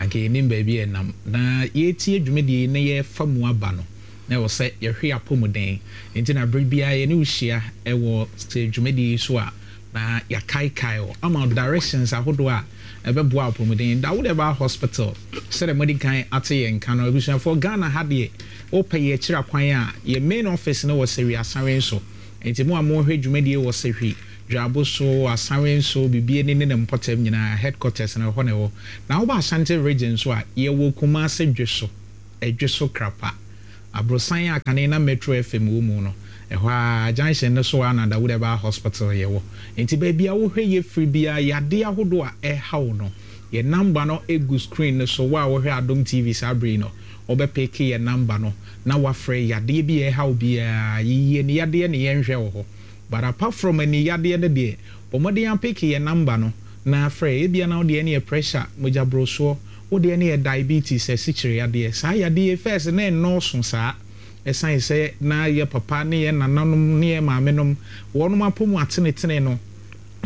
anka yɛnnim baabi a yɛnam. Na yɛretie dwumadie yi na yɛrefa mu aba no, na ɛwɔ sɛ yɛhwɛ yɛn apɔmuden. Enti na berɛ biara yɛne wo hyia wɔ sɛ dwumadie yi so a, na yɛakaekae wo ama wo directions ahodoɔ a ɛbɛboa apɔmuden. Dawood Herbal Hospital, sɛdeɛ moadi kan ate yɛn nka no, abusuafoɔ, Ghana ha deɛ, wopɛ yɛn akyiri akwan a, yɛn main office no wɔ Sɛwi Asanwe so. Enti mo a mohwɛ dwumadie wɔ Sehwi, Dwaboso, Asawenso, Bibiani ne ne mpɔtam nyinaa, headquarters no ɛhɔ na ɛwɔ. Na woba Ashanti Region nso a, yɛwɔ Kumase Dweso, Ɛdweso Krapa. Aborosan a kane na Metro F M wɔ mu no, ɛhɔ ara junction no so ara na Dawood Herbal Hospital yɛwɔ. Enti baabi a wohwɛ yɛ firi biara, yadeɛ ahodoɔ a ɛha wo no, yɛn number no gu screen no so. Wo a wohwɛ Adom T V saa bere yi no, wobɛpeke yɛn number no na wafrɛ. Yadeɛ bi a ɛha wo biara, yiyie ne yadeɛ ne yɛnhwɛ wɔ hɔ. But apart from ani yadeɛ no deɛ, bɔ mmɔden apeke yɛn number no na afrɛ. Ebia na wo deɛ no yɛ pressure, mogyaborosoɔ, wo deɛ no yɛ diabetes, asikyire yadeɛ. Saa yadeɛ first na ɛnnɔɔso saa. Ɛsan sɛ na yɛ papa ne yɛ nananom ne yɛ maamenom wɔnom apɔ mu atenetene no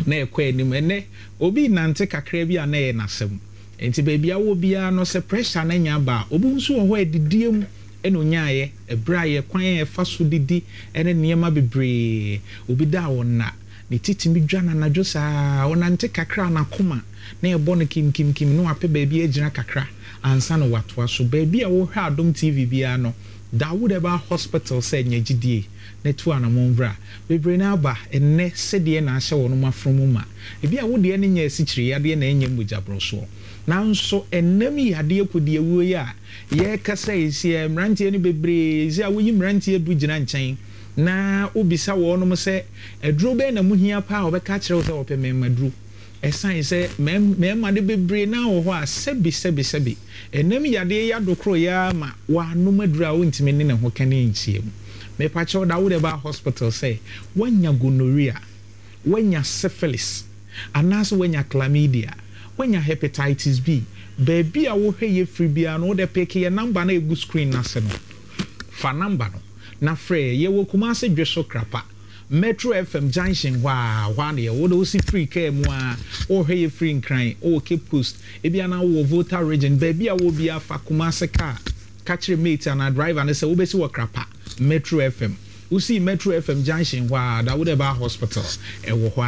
na ɛkɔ anim. Ɛnɛ obi nante kakra bi a na ɛyɛ n'asɛm. Nti baabi a wɔ biara no, sɛ pressure no nya ba a, obi nso wɔ hɔ a adidie mu ɛna onyaayɛ ɛberɛ a yɛ kwan a yɛfa so didi ɛne nneɛma bebree. Obi da a ɔna ne titimi dwa n'anadwo saa, ɔnante kakra n'akoma na ɛbɔ no kimkimkim na wapɛ baabi agyina kakra ansa na watoa so. Baabi a wɔhwɛ Adom T V biara no, Dawood Herbal Hospital sɛ nya gyidie na tu anammɔn bra. Bebree no aba ɛnnɛ sɛdeɛ na ahyɛ wɔn afono ma. Ebi a wodeɛ no nyɛ asikyire yadeɛ na ɛnyɛ mogya nanso ɛnam yadeɛ kɔdi awuo yi a yɛrekasa yi, sɛ mmeranteɛ no bebree sɛ a woyi mmeranteɛ du gyina nkyɛn na wobisa wɔnom sɛ aduro bɛn na muhia paa a, wɔbɛka kyerɛ wo sɛ wɔpɛ mmarima duro. Ɛsan sɛ mmarima no bebree naa wɔ hɔ a, sɛbi sɛbi sɛbi, ɛnam yadeɛ yi adokoro yi ara ma wɔanom aduro a wontumi ne ne ho ka ne nkyia mu. Mepakyɛw, da wode ba hospital sɛ woanya gonorrhea, woanya syphilis, anaasɛ woanya chlamydia, woanya hepatitis B, baabi a wohwɛ yɛ firi biara no, wode peke yɛ number no a ɛgu screen no ase no, fa number no na frɛ. Yɛwɔ Kumase Dwe so Krapa, Metro F M junction hɔ a, hɔ a na yɛwɔ. Wode wosi firi kaa mu a, wohwɛ yɛ firi Nkran, wowɔ Cape Coast, ebi anaa wowɔ Volta Region, baabi a wɔ biara, fa Kumase kaa, ka kyerɛ mate anaa driver no sɛ wobɛsi wɔ Krapa Metro F M. Wosi Metro F M junction hɔ a, Dawood Herbal Hospital ɛwɔ hɔ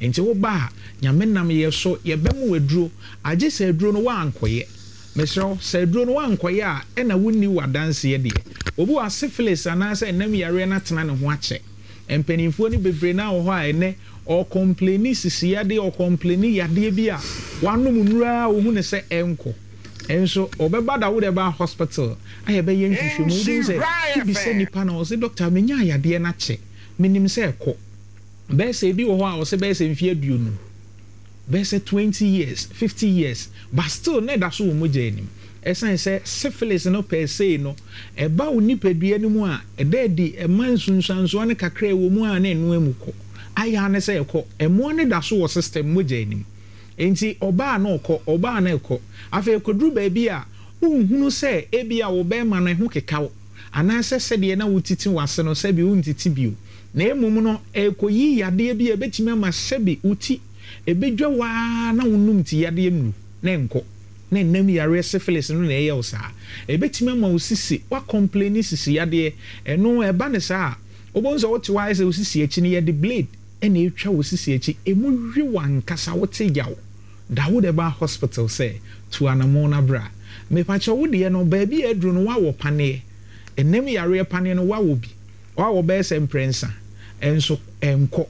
a. Nti woba a, Nyame nam yɛ so, yɛbɛmo aduro. Agye sɛ aduro no woankɔyɛ. Mesrɛ wo, sɛ aduro no woankɔyɛ a, ɛna wonni w'adanseɛ deɛ. Obi wɔ syphilis anaasɛ ɛnam yareɛ no atena ne ho akyɛ. Mpanimfoɔ no bebree naa wɔ hɔ a ɛnɛ ɔcomplaini sisi yadeɛ, ɔcomplaini yadeɛ bi a wanom nnura a wohu ne sɛ ɛnkɔ. Ɛnso ɔbɛba Dawood Herbal Hospital a, yɛbɛyɛ nhwehwɛmu, wobɛhu sɛ wobisa nipa na ɔsɛ, "Doctor, menya yadeɛ no akyɛ, menim sɛ ɛkɔ." Bɛyɛ sɛ ebi wɔ hɔ a ɔsɛ bɛyɛ sɛ mfeɛ aduonu, bɛyɛ sɛ twenty years, fifty years, but still na ɛda so wɔ mogya anim. Ɛsan sɛ syphilis no pɛɛ sei no, ɛba wo nipadua no mu a, ɛda adi, ɛma nsunsuansoɔ no kakra ɛwɔ mu a, na ɛno mu kɔ ayɛ ne sɛ ɛkɔ, ɛmoa no da so wɔ system mogya anim. Nti ɔbaa na ɔkɔ, ɔbaa na ɛkɔ. Afei ɛkɔduru baabi a wonhunu sɛ ebi a wo bɛrima no ɛho keka wo anaasɛ sɛdeɛ na wotiti w'ase no, sɛbi wontiti bio, na mmom no ɛkɔyi yadeɛ bi a ɛbɛtumi ama sɛbi wo ti ɛbɛdwa waa na wonum ti yadeɛ nuru na ɛnkɔ, na ɛnam yareɛ syphilis no na ɛyɛ wo saa. Ɛbɛtumi ama wo sisi, woacomplaini sisi yadeɛ. Ɛno ɛba ne saa a, wobɛhu sɛ wote hɔ ayɛ sɛ wo sisi akyi no yɛde blade ɛna ɛtwa wo sisi akyi, ɛmu hwe w'ankasa, wote yaw. Dawood Herbal Hospital sɛ tu anammɔn no bra. Mepakyɛ, wo deɛ no baabi a aduru no, woawɔ paneɛ, ɛnam yareɛ paneɛ no woawɔ bi, woawɔ bɛyɛ sɛ mprɛnsa, ɛnso ɛnkɔ,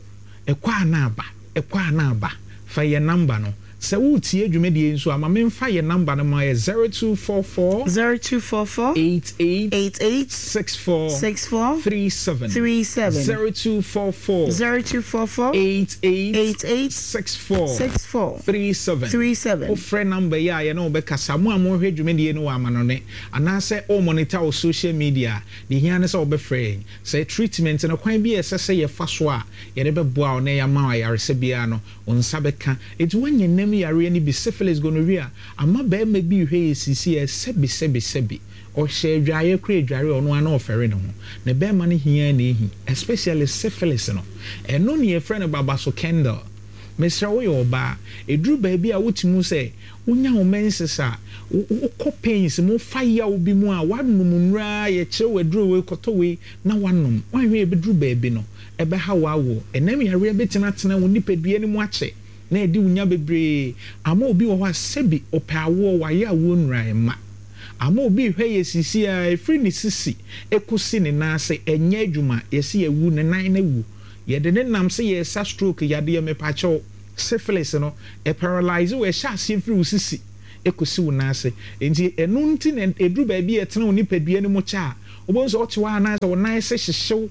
ɛkɔ a na aba, ɛkɔ a na aba. Fa yɛ number no. Sɛ woretie dwumadie nso a, ma memfa yɛ number no ma yɛ zero two four four zero two four four eight eight eight eight six four six four three seven three seven zero two four four zero two four four eight eight eight eight six four six four three seven three seven. Wofrɛ number yi a, yɛne wobɛkasa. Mo a mohwɛ dwumadie no wɔ amanɔne anaasɛ wo monitor wo social media, deɛ hia ne sɛ wobɛfrɛ yɛn sɛ treatment no, kwan bi a ɛsɛ sɛ yɛfa so a yɛde bɛboa wo na yɛama wo ayaresɛ biara no, wo nsa bɛka. Ɛnti woanya nam yareɛ no bi, syphilis, gonorrhea, ama bɛrima bi hwɛ yɛ sisi ɛ, sɛbi sɛbi sɛbi, ɔhyɛ adwaeɛ kora, adware ɔno ara na ɔfɛre ne ho na bɛrima no hia na ɛhi, especially syphilis no, ɛno ne yɛfrɛ no babaso candle. Mesrɛ, woyɛ ɔbaa, ɛduru baabi a wotumi sɛ wonya wo menses a, wokɔ pains mu, fa yaw bi mu a, woanom nnura, yɛkyerɛ wo aduro wei, kɔtɔ wei na woanom, woanhwɛ yɛbɛduru baabi no, ɛbɛha wo awo. Ɛnam yareɛ bɛtumi atena wo nipadua no mu akyɛ na ɛde wo nya bebree ama. Obi wɔ hɔ a, sɛbi, ɔpɛ awoɔ, wayɛ awoɔ nnura, ɛma Ama obi rehwɛ yɛ sisi a, ɛfiri ne sisi ɛkɔsi ne nan ase ɛnyɛ adwuma, yɛse yɛwu, ne nan no awu. Yɛde ne nam sɛ yɛresa stroke yadeɛ, mepakyɛw, syphilis no, ɛparalyse wo, ɛhyɛ aseɛ firi wo sisi ɛkɔsi wo nan ase. Enti ɛno nti na ɛduru baabi a ɛtena wo nipadua no mu kyɛ a, wobɛhu sɛ wote hɔ a na ayɛ sɛ wo nan ase hyehye wo.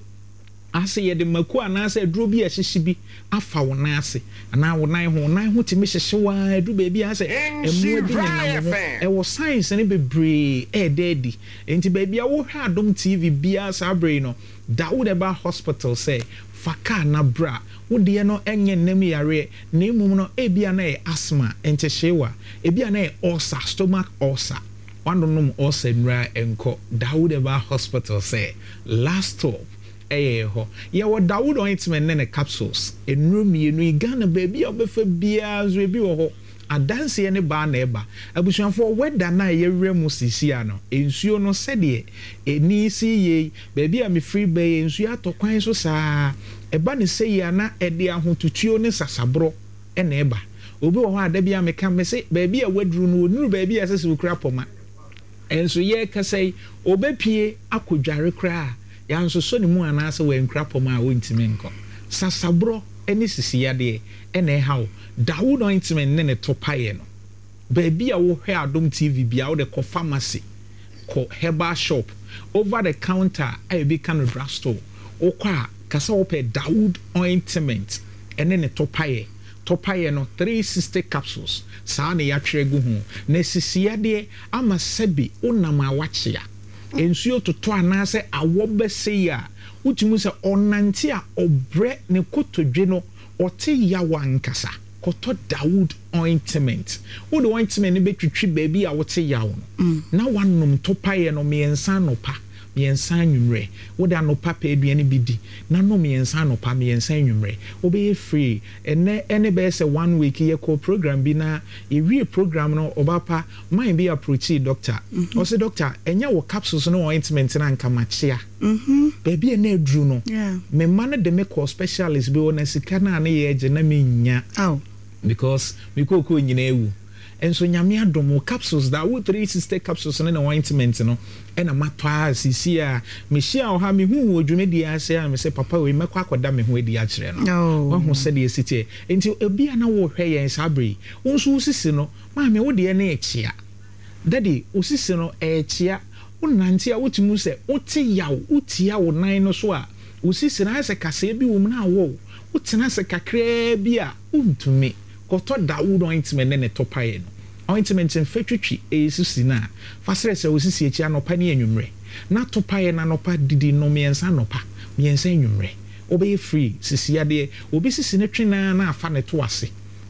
Ase yɛde mako anaasɛ aduro bi a ɛhyehye bi afa wo nan ase anaa wo nan ho. Wo nan ho tumi hyehye wo ara ɛduru baabi a ayɛ sɛ mmoa bi nenam wo ho. Ɛwɔ signs no bebree a ɛda adi. Enti baabi a wohwɛ Adom T V biara saa berɛ yi no, Dawood Herbal Hospital sɛ fa kaa na bra. Wo deɛ no nyɛ nnam yareɛ na mmom no ebia na ɛyɛ asthma, ntehyeewa, ebia na ɛyɛ ulcer, stomach ulcer. Woanonom ulcer nnuro a ɛnkɔ. Dawood Herbal Hospital sɛ last stop ɛyɛ hɔ. Yɛwɔ Dawood Ointment ne ne capsules. Nnuro mmienu yi, Ghana baabi a wobɛfa biara nso ebi wɔ hɔ. Adanseɛ ne baa na ɛba. Abusuafoɔ, weather no a yɛwerɛ mu seesei no, nsuo no sɛdeɛ ɛni si yie, baabi a mefiri ba yi, nsuo atɔ kwan so saa. Ɛba ne sɛ yi a na ɛde ahotutuo ne sasaborɔ ɛna ɛba. Obi wɔ hɔ a da bi a meka me se baabi a waduru no, ɔnuru baabi a ɛsɛ sɛ okura pɔma. Ɛnso yɛrekasa yi, ɔbɛpie akɔdware koraa, yɛansosɔ ne mu anaasɛ wankura pɔma a wɔntumi nkɔ. Sasaborɔ ne sisiyadeɛ ɛna ɛha wo. Dawood Ointment ne ne to paeɛ no, baabi a wohwɛ Adom T V bia, wode kɔ pharmacy, kɔ herbal shop, over the counter a ebi ka no drug store, wokɔ a kasa wopɛ Dawood Ointment ɛne ne to paeɛ. To paeɛ no three sixty capsules saa na yɛatwerɛ gu ho. Na sisiyadeɛ ama sɛbi wonam a wakyea, nsuo totɔ anaasɛ awɔ bɛsɛ yi a, wotumi sɛ ɔnante a ɔbrɛ, ne kotodwe no ɔte yaw ankasa. Kɔtɔ Dawood Ointment. Wode ointment no bɛtwitwi baabi a wote yaw no na wanom topaeɛ no mmiɛnsa anɔpa, mmiɛnsa anwummerɛ. Wode anɔpa pɛ aduane bi di na nom mmiɛnsa anɔpa, mmiɛnsa anwummerɛ, wobɛyɛ free. Ɛnɛ ɛne bɛyɛ sɛ one week yɛkɔ program bi na yɛwie program no, ɔba man bi approachi doctor, ɔsɛ, "Doctor, ɛnyɛ wɔ capsules no ointment no anka makyea baabi a na aduru no." Me mma no de me kɔ specialist bi wɔ na sika no a ne yɛ agye na menya because me kookoo nyinaa ewu. Nso Nyame adom, wo capsules da wo three sixty capsules ne ne ointment no ɛna matɔ a sisi a mehyia wɔ ha, mehu wɔ dwumadie ase a mesɛ papa wei mɛkɔ akɔda me ho adi akyerɛ no. Wahu sɛdeɛ ɛsi teɛ. Nti ebi a na wɔhwɛ yɛn saa bere yi, wo nso wo sisi no, maame, wo deɛ ne ɛkyea, daddy, wo sisi no ɛɛkyea, wonante a wotumi sɛ wote yaw, wotia wo nan no so a wo sisi no ayɛ sɛ kaseɛ bi wɔ mu na awɔ wo, wotena ase kakraa bi a wontumi. Kɔtɔ Dawood Ointment ne ne tɔpaeɛ no. Ointment mfa twitwi ɛyɛ sisi no a, fa srɛsrɛ wo sisi akyi anɔpa ne anwummerɛ, na topaeɛ no anɔpa didi no mmiɛnsa anɔpa, mmiɛnsa anwummerɛ, wobɛyɛ free. Sisi adeɛ, obi sisi no twe naa na afa ne to ase,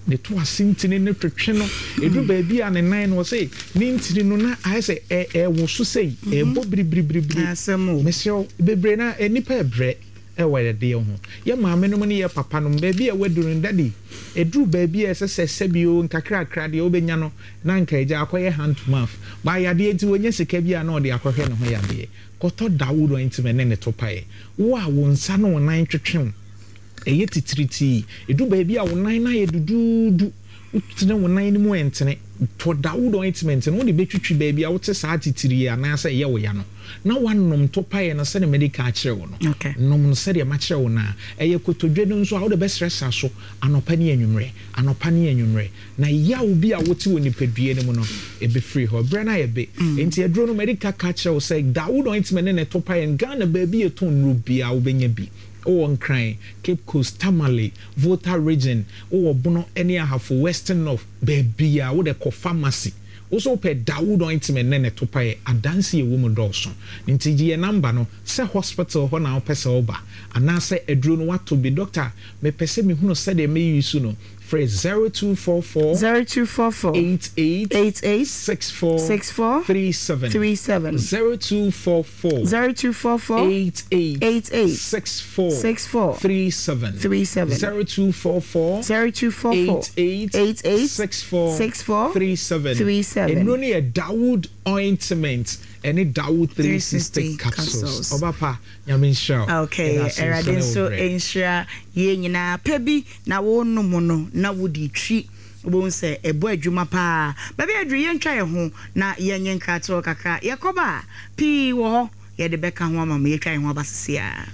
ne to ase ntini ne twetwe no, ɛduru baabi a ne nan no ɔsɛ ne ntini no na ayɛ sɛ ɛwɔ so sɛi ɛbɔ biribiribiribiri. Mesrɛ bebree na nipa ɛbrɛ ɛwɔ yadeɛ ho. Yɛ maame nom ne yɛ papa nom, baabi a waduru no, daddy, ɛduru baabi a ɛsɛ sɛ sɛbio nkakrakra deɛ wobɛnya no na nka agya akɔyɛ hand to mouth ba yadeɛ nti wɔnya sika bi a na ɔde akɔhwɛ ne ho yadeɛ. Kɔtɔ Dawood Ointment ne ne to paeɛ. Wo a wo nsa ne wo nan twetwe wo, ɛyɛ titiritii, ɛduru baabi a wo nan no ayɛ duduudu, wotene wo nan no mu ɛntene, tɔ Dawood Ointment no, wode bɛtwitwi baabi a wote saa titirii anaasɛ ɛyɛ wo ya no na wanom to paeɛ no sɛdeɛ mede ka akyerɛ wo no. Nom no sɛdeɛ makyerɛ wo no a ɛyɛ kotodwe no nso a wode bɛsrɛsra so anɔpa ne anwummerɛ, anɔpa ne anwummerɛ, na yaw bi a wote wɔ nipadua no mu no ɛbɛfiri hɔ berɛ no ayɛ be. Enti aduro no mede ka ka kyerɛ wo sɛ Dawood Ointment ne ne to paeɛ no, Ghana baabi yɛtɔn nnuro biara wobɛnya bi. Wowɔ Nkran, Cape Coast, Tamale, Volta Region, wowɔ Bono ne Ahafo, Western North, baabi a wode kɔ pharmacy, wo so wopɛ Dawood Ointment ne ne to paeɛ, adanse ɛwɔ mu dɔɔso. Nti gye yɛ number no sɛ hospital hɔ na wopɛ sɛ woba anaasɛ aduro no wato bi, "Doctor, mepɛ sɛ mehunu sɛdeɛ mɛyi so no," frɛ zero two four four zero two four four eight eight eight eight six four six four three seven three seven zero two four four zero two four four eight eight eight eight six four six four three seven three seven zero two four four zero two four four eight eight eight eight six four six four three seven three seven. Nnuro no yɛ Dawood Ointment ɛne Dawood three sixty capsules. Capsules. Ɔba pa, Nyame nhyira wo. Okay. Yɛda ase Awurade nso nso ne wo berɛ. Nhyira yɛn nyinaa. Pɛ bi na wɔnom no na wode twi. Wobɛhu sɛ ɛbɔ adwuma paa. Baabi a aduru, yɛntwa yɛn ho na yɛnyɛ nkratoɔ kakra. Yɛkɔba a, pii wɔ hɔ yɛde bɛka ho ama mo. Yɛtwa yɛn ho aba seesei ara.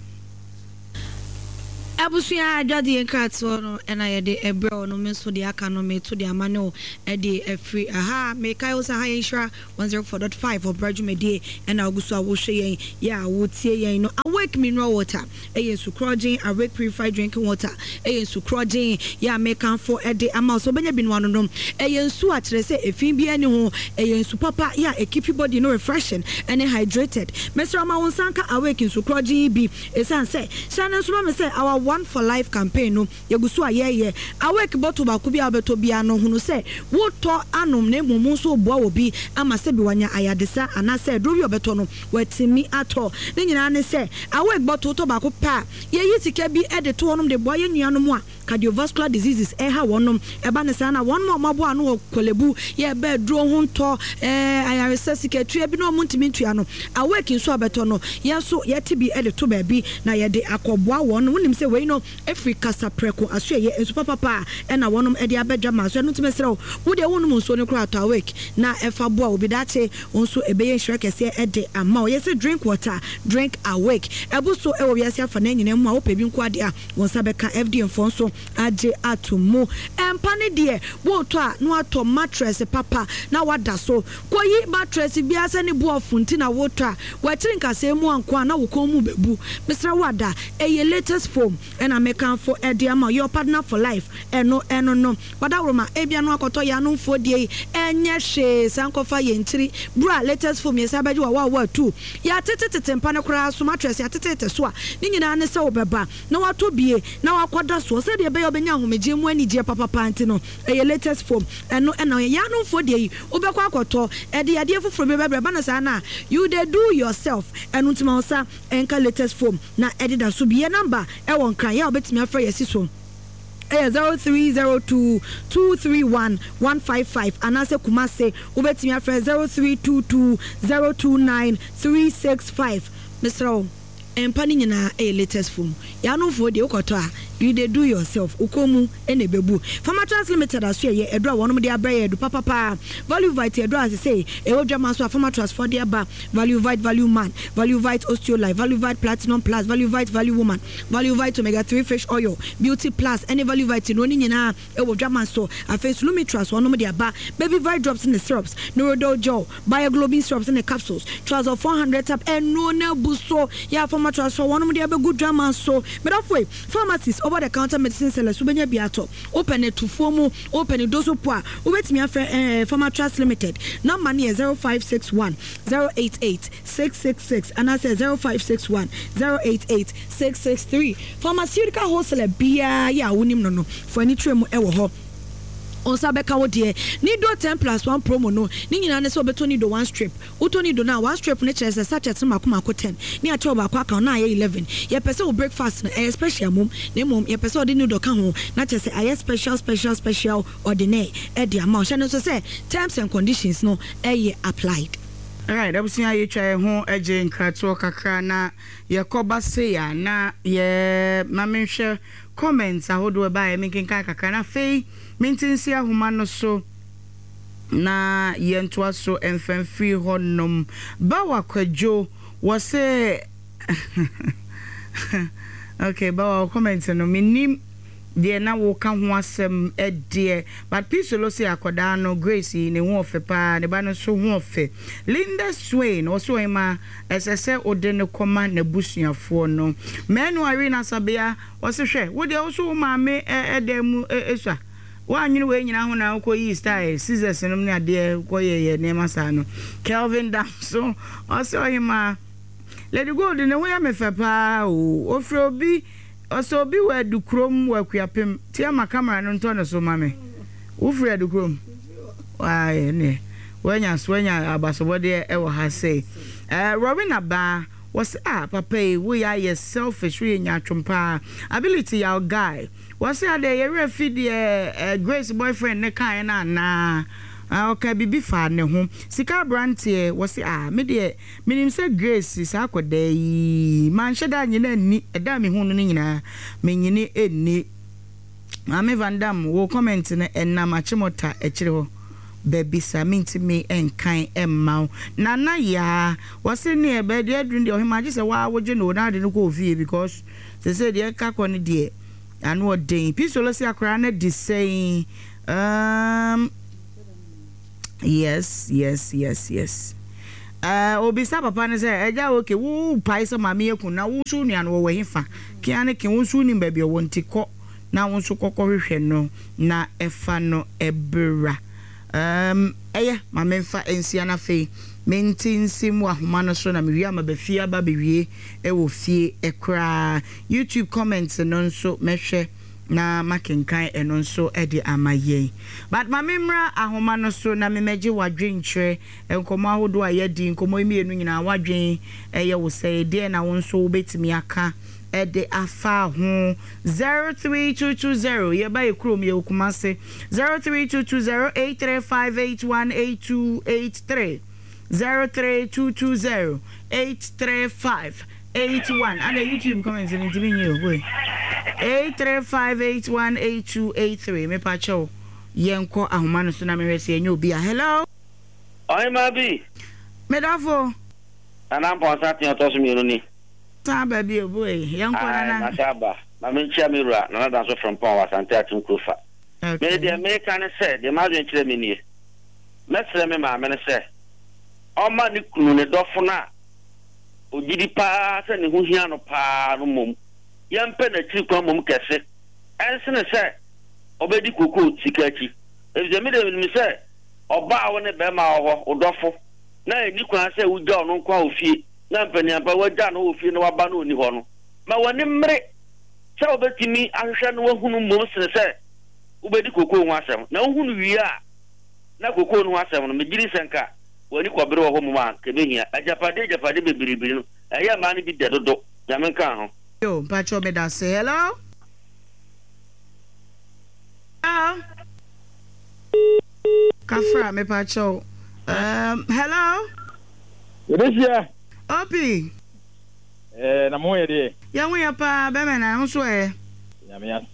Abusua, adwadeɛ nkratoɔ no ɛna yɛde ɛbrɛ wɔ no. Me nso deɛ aka no, meto de ama ne wo ɛde afiri aha. Mekae wo sɛ ha yɛ Nhyira one oh four point five, ɔbra dwumadie ɛna wogu so a wohwɛ yɛn yɛ a wotie yɛn no. Awake Mineral Water ɛyɛ nsukorɔgyen. Awake Purified Drinking Water ɛyɛ nsukorɔgyen yɛ a mekamfo ɛde ama wo sɛ wobɛnya bi no anonom. Ɛyɛ nsu a kyerɛ sɛ efi biara ni ho. Ɛyɛ nsu papa yɛ a ɛkeep body no refreshing ɛne hydrated. Mesrɛ ma wo nsa nka Awake nsukorɔgyen yi bi, ɛsiane sɛ hyɛ no nso ma me sɛ our One for Life campaign no yɛgu so a yɛyɛ. Awake bottle baako bi a wobɛtɔ biara no, hunu sɛ wotɔ anom na mmom nso woboa wɔ bi ama sɛ bi wanya ayadesa anaasɛ aduro bi a ɔbɛtɔ no watumi atɔ. Ne nyinaa ne sɛ Awake bottle tɔ baako pɛ a, yɛyi sika bi de to hɔnom de boa yɛn nuanom a cardiovascular diseases ɛha wɔnom. Ɛba ne saa na wɔn a wɔaboa ano wɔ Korle Bu yɛbɛ aduro ho ntɔ ɛɛ ayaresa sikatua bi na wɔn ntumi ntua no, Awake nso abɛtɔ no, yɛn nso yɛte bi de to baabi na yɛde akɔboa wɔn. Wonim sɛ wei no efiri Kasaprɛko aso ɛyɛ nsu papapa a ɛna wɔnom de abɛdwa ma so. Ɛno ntumi srɛw wo deɛ, wonom nsuo no koraa, atɔ Awake na ɛfa boa obi daakye nso ɛbɛyɛ nhyira kɛseɛ ɛde ama wo. Yɛsɛ drink water, drink Awake. Ɛbo so ɛwɔ wiase afa na nyinaa mu a wopɛ bi nko adeɛ a wɔn nsa bɛka. F D A foɔ nso agye ato mu. Ɛmpa ne deɛ wotɔ a, na watɔ mattress papa na wada so. Kɔyi mattress biara sɛ ne boɔfo nti na wotɔ a, wɔakyiri nkasɛɛ mu anko a na wo kɔn mu bɛbu. Mesrɛ wo, ada ɛyɛ latest foam ɛna mekamfo ɛde ama your partner for life. Ɛno ɛno no wadaworoma ebia no akɔtɔ yɛ anomfoɔ die yi ɛnyɛ hwee saa nkɔfa yɛn nkyiri bra. Latest foam yɛ sɛ abɛgye wa wa wa tu yɛatetetete mpa no koraa so, mattress yɛatetete so a, ne nyinaa ne sɛ wobɛba na watɔ bie na wakɔda soɔ sɛdeɛ ɛbɛyɛ wobɛnya ahomegye mu anigyeɛ papapa. Nti no ɛyɛ latest foam. Ɛno ɛna yɛ anomfoɔ deɛ yi wobɛkɔ akɔtɔ ɛde adeɛ foforɔ bi bɛbrɛ ba no saa na you dey do yourself. Ɛno nti ma wo sa ɛnka latest foam na ɛdeda so bi. Yɛ number ɛwɔ Nkran yɛ a wobɛtumi afrɛ yɛsi so ɛyɛ zero three zero two two three one one five five, anaasɛ Kumase wobɛtumi afrɛ zero three two two zero two nine three six five. Mesrɛ wo, mpa no nyinaa ɛyɛ latest foam. Yɛanomfoɔ deɛ wokɔtɔ a, you dey do yourself, wokɔn mu ɛna ɛbɛbu. Pharmatrans Limited aso ɛyɛ ɛduro a wɔnom de abrɛ yɛ ɛdu papapaa. Value Vite ɛduro a sesei ɛwɔ dwama so a Pharmatrans foɔ de aba: Value Vite, Value Man, Value Vite Osteolife, Value Vite Platinum Plus, Value Vite Value Woman, Value Vite Omega three Fish Oil, Beauty Plus ɛne Value Vite no ne nyinaa ɛwɔ dwama so. Afei Solumitras wɔnom de aba, Baby Vite drops ne syrups, Neurodol gel, Bioglobin syrups ne capsules, Trazol four hundred tab. Ɛno na abu so yɛ a Pharmatrans foɔ wɔnom de abɛgu dwama so. Medafo yi, pharmacies, over the counter medicine sellers, wobɛnya bi atɔ. Wopɛ ne tufuo mu, wopɛ ne doso po a, wobɛtumi afrɛ ɛɛ Pharmatrust Limited. Number no yɛ zero five six one zero eight eight six six six anaasɛ zero five six one zero eight eight six six three. Pharmaceutical wholesaler biara yɛ a wonim no no fo ani kyerɛ mu ɛwɔ hɔ, nsa bɛka wo deɛ. Nido ten plus one promo no ne nyinaa ne sɛ wobɛtɔ Nido one strip. Wotɔ Nido no a, one strip no kyerɛ sɛ sachet no mako mako ten ne akyɛw baako aka na ayɛ eleven. Yɛpɛ sɛ wo breakfast no ɛyɛ special mom, na mmom yɛpɛ sɛ ɔde Nido ka ho na kyerɛ sɛ ayɛ special special special ordinaire ɛde ama wo. Hyɛ no nso sɛ terms and conditions no ɛyɛ applied. Alright, abusua, yɛtwa yɛn ho agye nkratoɔ kakra na yɛkɔba sei a na yɛ ma menhwɛ comments ahodoɔ ɛbaeɛ, menkenkan kakra na afei mente nsi ahoma no so na yɛntoa so mfamfiri hɔnom. Bawa Kwadwo wɔ sɛ, okay, Bawa, wɔ comment no menim deɛ na woka ho asɛm deɛ, but Pisolo sɛ akɔdaa no Grace yi ne ho ɔfɛ paa, ne ba no nso ho ɔfɛ. Linda Swain ɔsɛ ɔhema ɛsɛ sɛ wode no kɔma n'abusuafoɔ no. Mɛnu Irene Asabea ɔsɛ hwɛ wo deɛ wo so wo maame ɛdan mu esua woanwene wei nyinaa ho na wokɔyii style scissors nom ne adeɛ kɔyɛyɛ nneɛma saa no. Kelvin Damso ɔsɛ ɔhema, Lady Gold ne ho yɛ me fɛ paa o. Ofiri obi ɔsɛ obi wɔ Adukurom wɔ Akuapem tia ma camera no ntɔ ne so ma me. Wofiri Adukurom waayɛ ne wanya so wanya abasobɔdeɛ ɛwɔ ha sei. Ɛɛ Rowena Baa wɔsɛ a papa yi woyɛ ayɛ selfish, woyɛ nyatwom paa. Ability yaw guy wɔsɛ adeɛ yɛwerɛ fi deɛ ɛɛ Grace boyfriend ne kaeɛ no anaa ɔka biribi fa ne ho sika. Aberanteɛ wɔsɛ a me deɛ menim sɛ Grace saa akɔdaa yi manhyɛ da nyina nni ɛda a mehu no no nyinaa menyini nni. Maame Van Dam wo comment no ɛnam Achimota akyire hɔ baabi saa mentumi nkan mma wo. Nana Yaa wɔse neɛ baabi aduru no deɛ ɔhemaa gye sɛ waa wogye no o na ade no kɔ ofie because sesei deɛ ɛka kɔ no deɛ ano ɔden. Pisolo se akoraa no adi sɛn um yes yes yes yes uh, obisa papa no sɛ agya okay wo pae sɛ maame aku na wo nso nua no wɔwɔ hefa kea ne ke wo nso wonim baabi ɔwɔ nti kɔ na wo nso kɔkɔhwehwɛ no na fa no bra. Erm, ɛyɛ, ma memfa nsia na afei mente nsim wɔ ahoma no so na mewie a maba fie aba abɛwie wɔ fie koraa. YouTube comments no nso mɛhwɛ na makenkan ɛno nso de ama yɛn. But ma memmra ahoma no so na memmɛgye w'adwenkyerɛ, nkɔmmɔ ahodoɔ a yɛadi, nkɔmmɔ yi mmienu nyinaa w'adwen yɛ wo sɛn, deɛn na wo nso wobɛtumi aka de afa ho zero three two two zero yɛba yɛ kurom yɛwɔ Kumasi zero three two two zero eight three five eight one eight two eight three zero three two two zero eight three five eight one ada YouTube comments no ntumi nyi o boy eight three five eight one eight two eight three mepa kyɛw yɛnkɔ ahoma no so na mehwɛ sɛ yɛnyɛ obi a hello. Ɔhemaa bi. Medafo. Nana Mpɔnsa tea ɔtɔ so mmienu ni. San aba bio boy yɛnkɔ Ae nana. masan aba. Ma menkyia me wura Nana Danso Frimpong wɔ Asante Akyem Kurofa. Me Okay. deɛ meka ne sɛ, deɛ m'adwene kyerɛ me nie. Mɛsrɛ me maame no sɛ ɔmma ne kunu, ne dɔfo no a ɔgyedi pa ara sɛ ne ho hia no pa ara no mmom yɛmpɛ n'akyiri kwan mmom kɛse ɛnsene sɛ ɔbɛdi kokoo sika akyi. Efisɛ me deɛ menim sɛ ɔbaa a wo ne barima wɔ hɔ, wo dɔfo, na ɛnni kwan sɛ wogya ɔno nko ara wɔ fie, na mpaniampa woagya no wɔ fie na waba na ɔnni hɔ no, ma w'ani mmere sɛ wobɛtumi ahwehwɛ no ahunu mmom sene sɛ wobɛdi kokoo ho asɛm. Na wohu no wie a, na kokoo no ho asɛm no, megye di sɛ nka w'ani kɔbere wɔ hɔ mmom a, nka ɛbɛhia. Agyapadeɛ agyapadeɛ bebrebe no, ɛyɛ mmaa no bi dɛ dodo. Nyame nka ho. Yo, mpakyɛw medase. Hello? Hello? Kafra, mepakyɛw. Um, hello? Yɛbɛhyia. Opi. Eh, na mo ho yɛ deɛ? Yɛn ho yɛ paa, bɛmɛ na ho so ɛ? Nyame ase.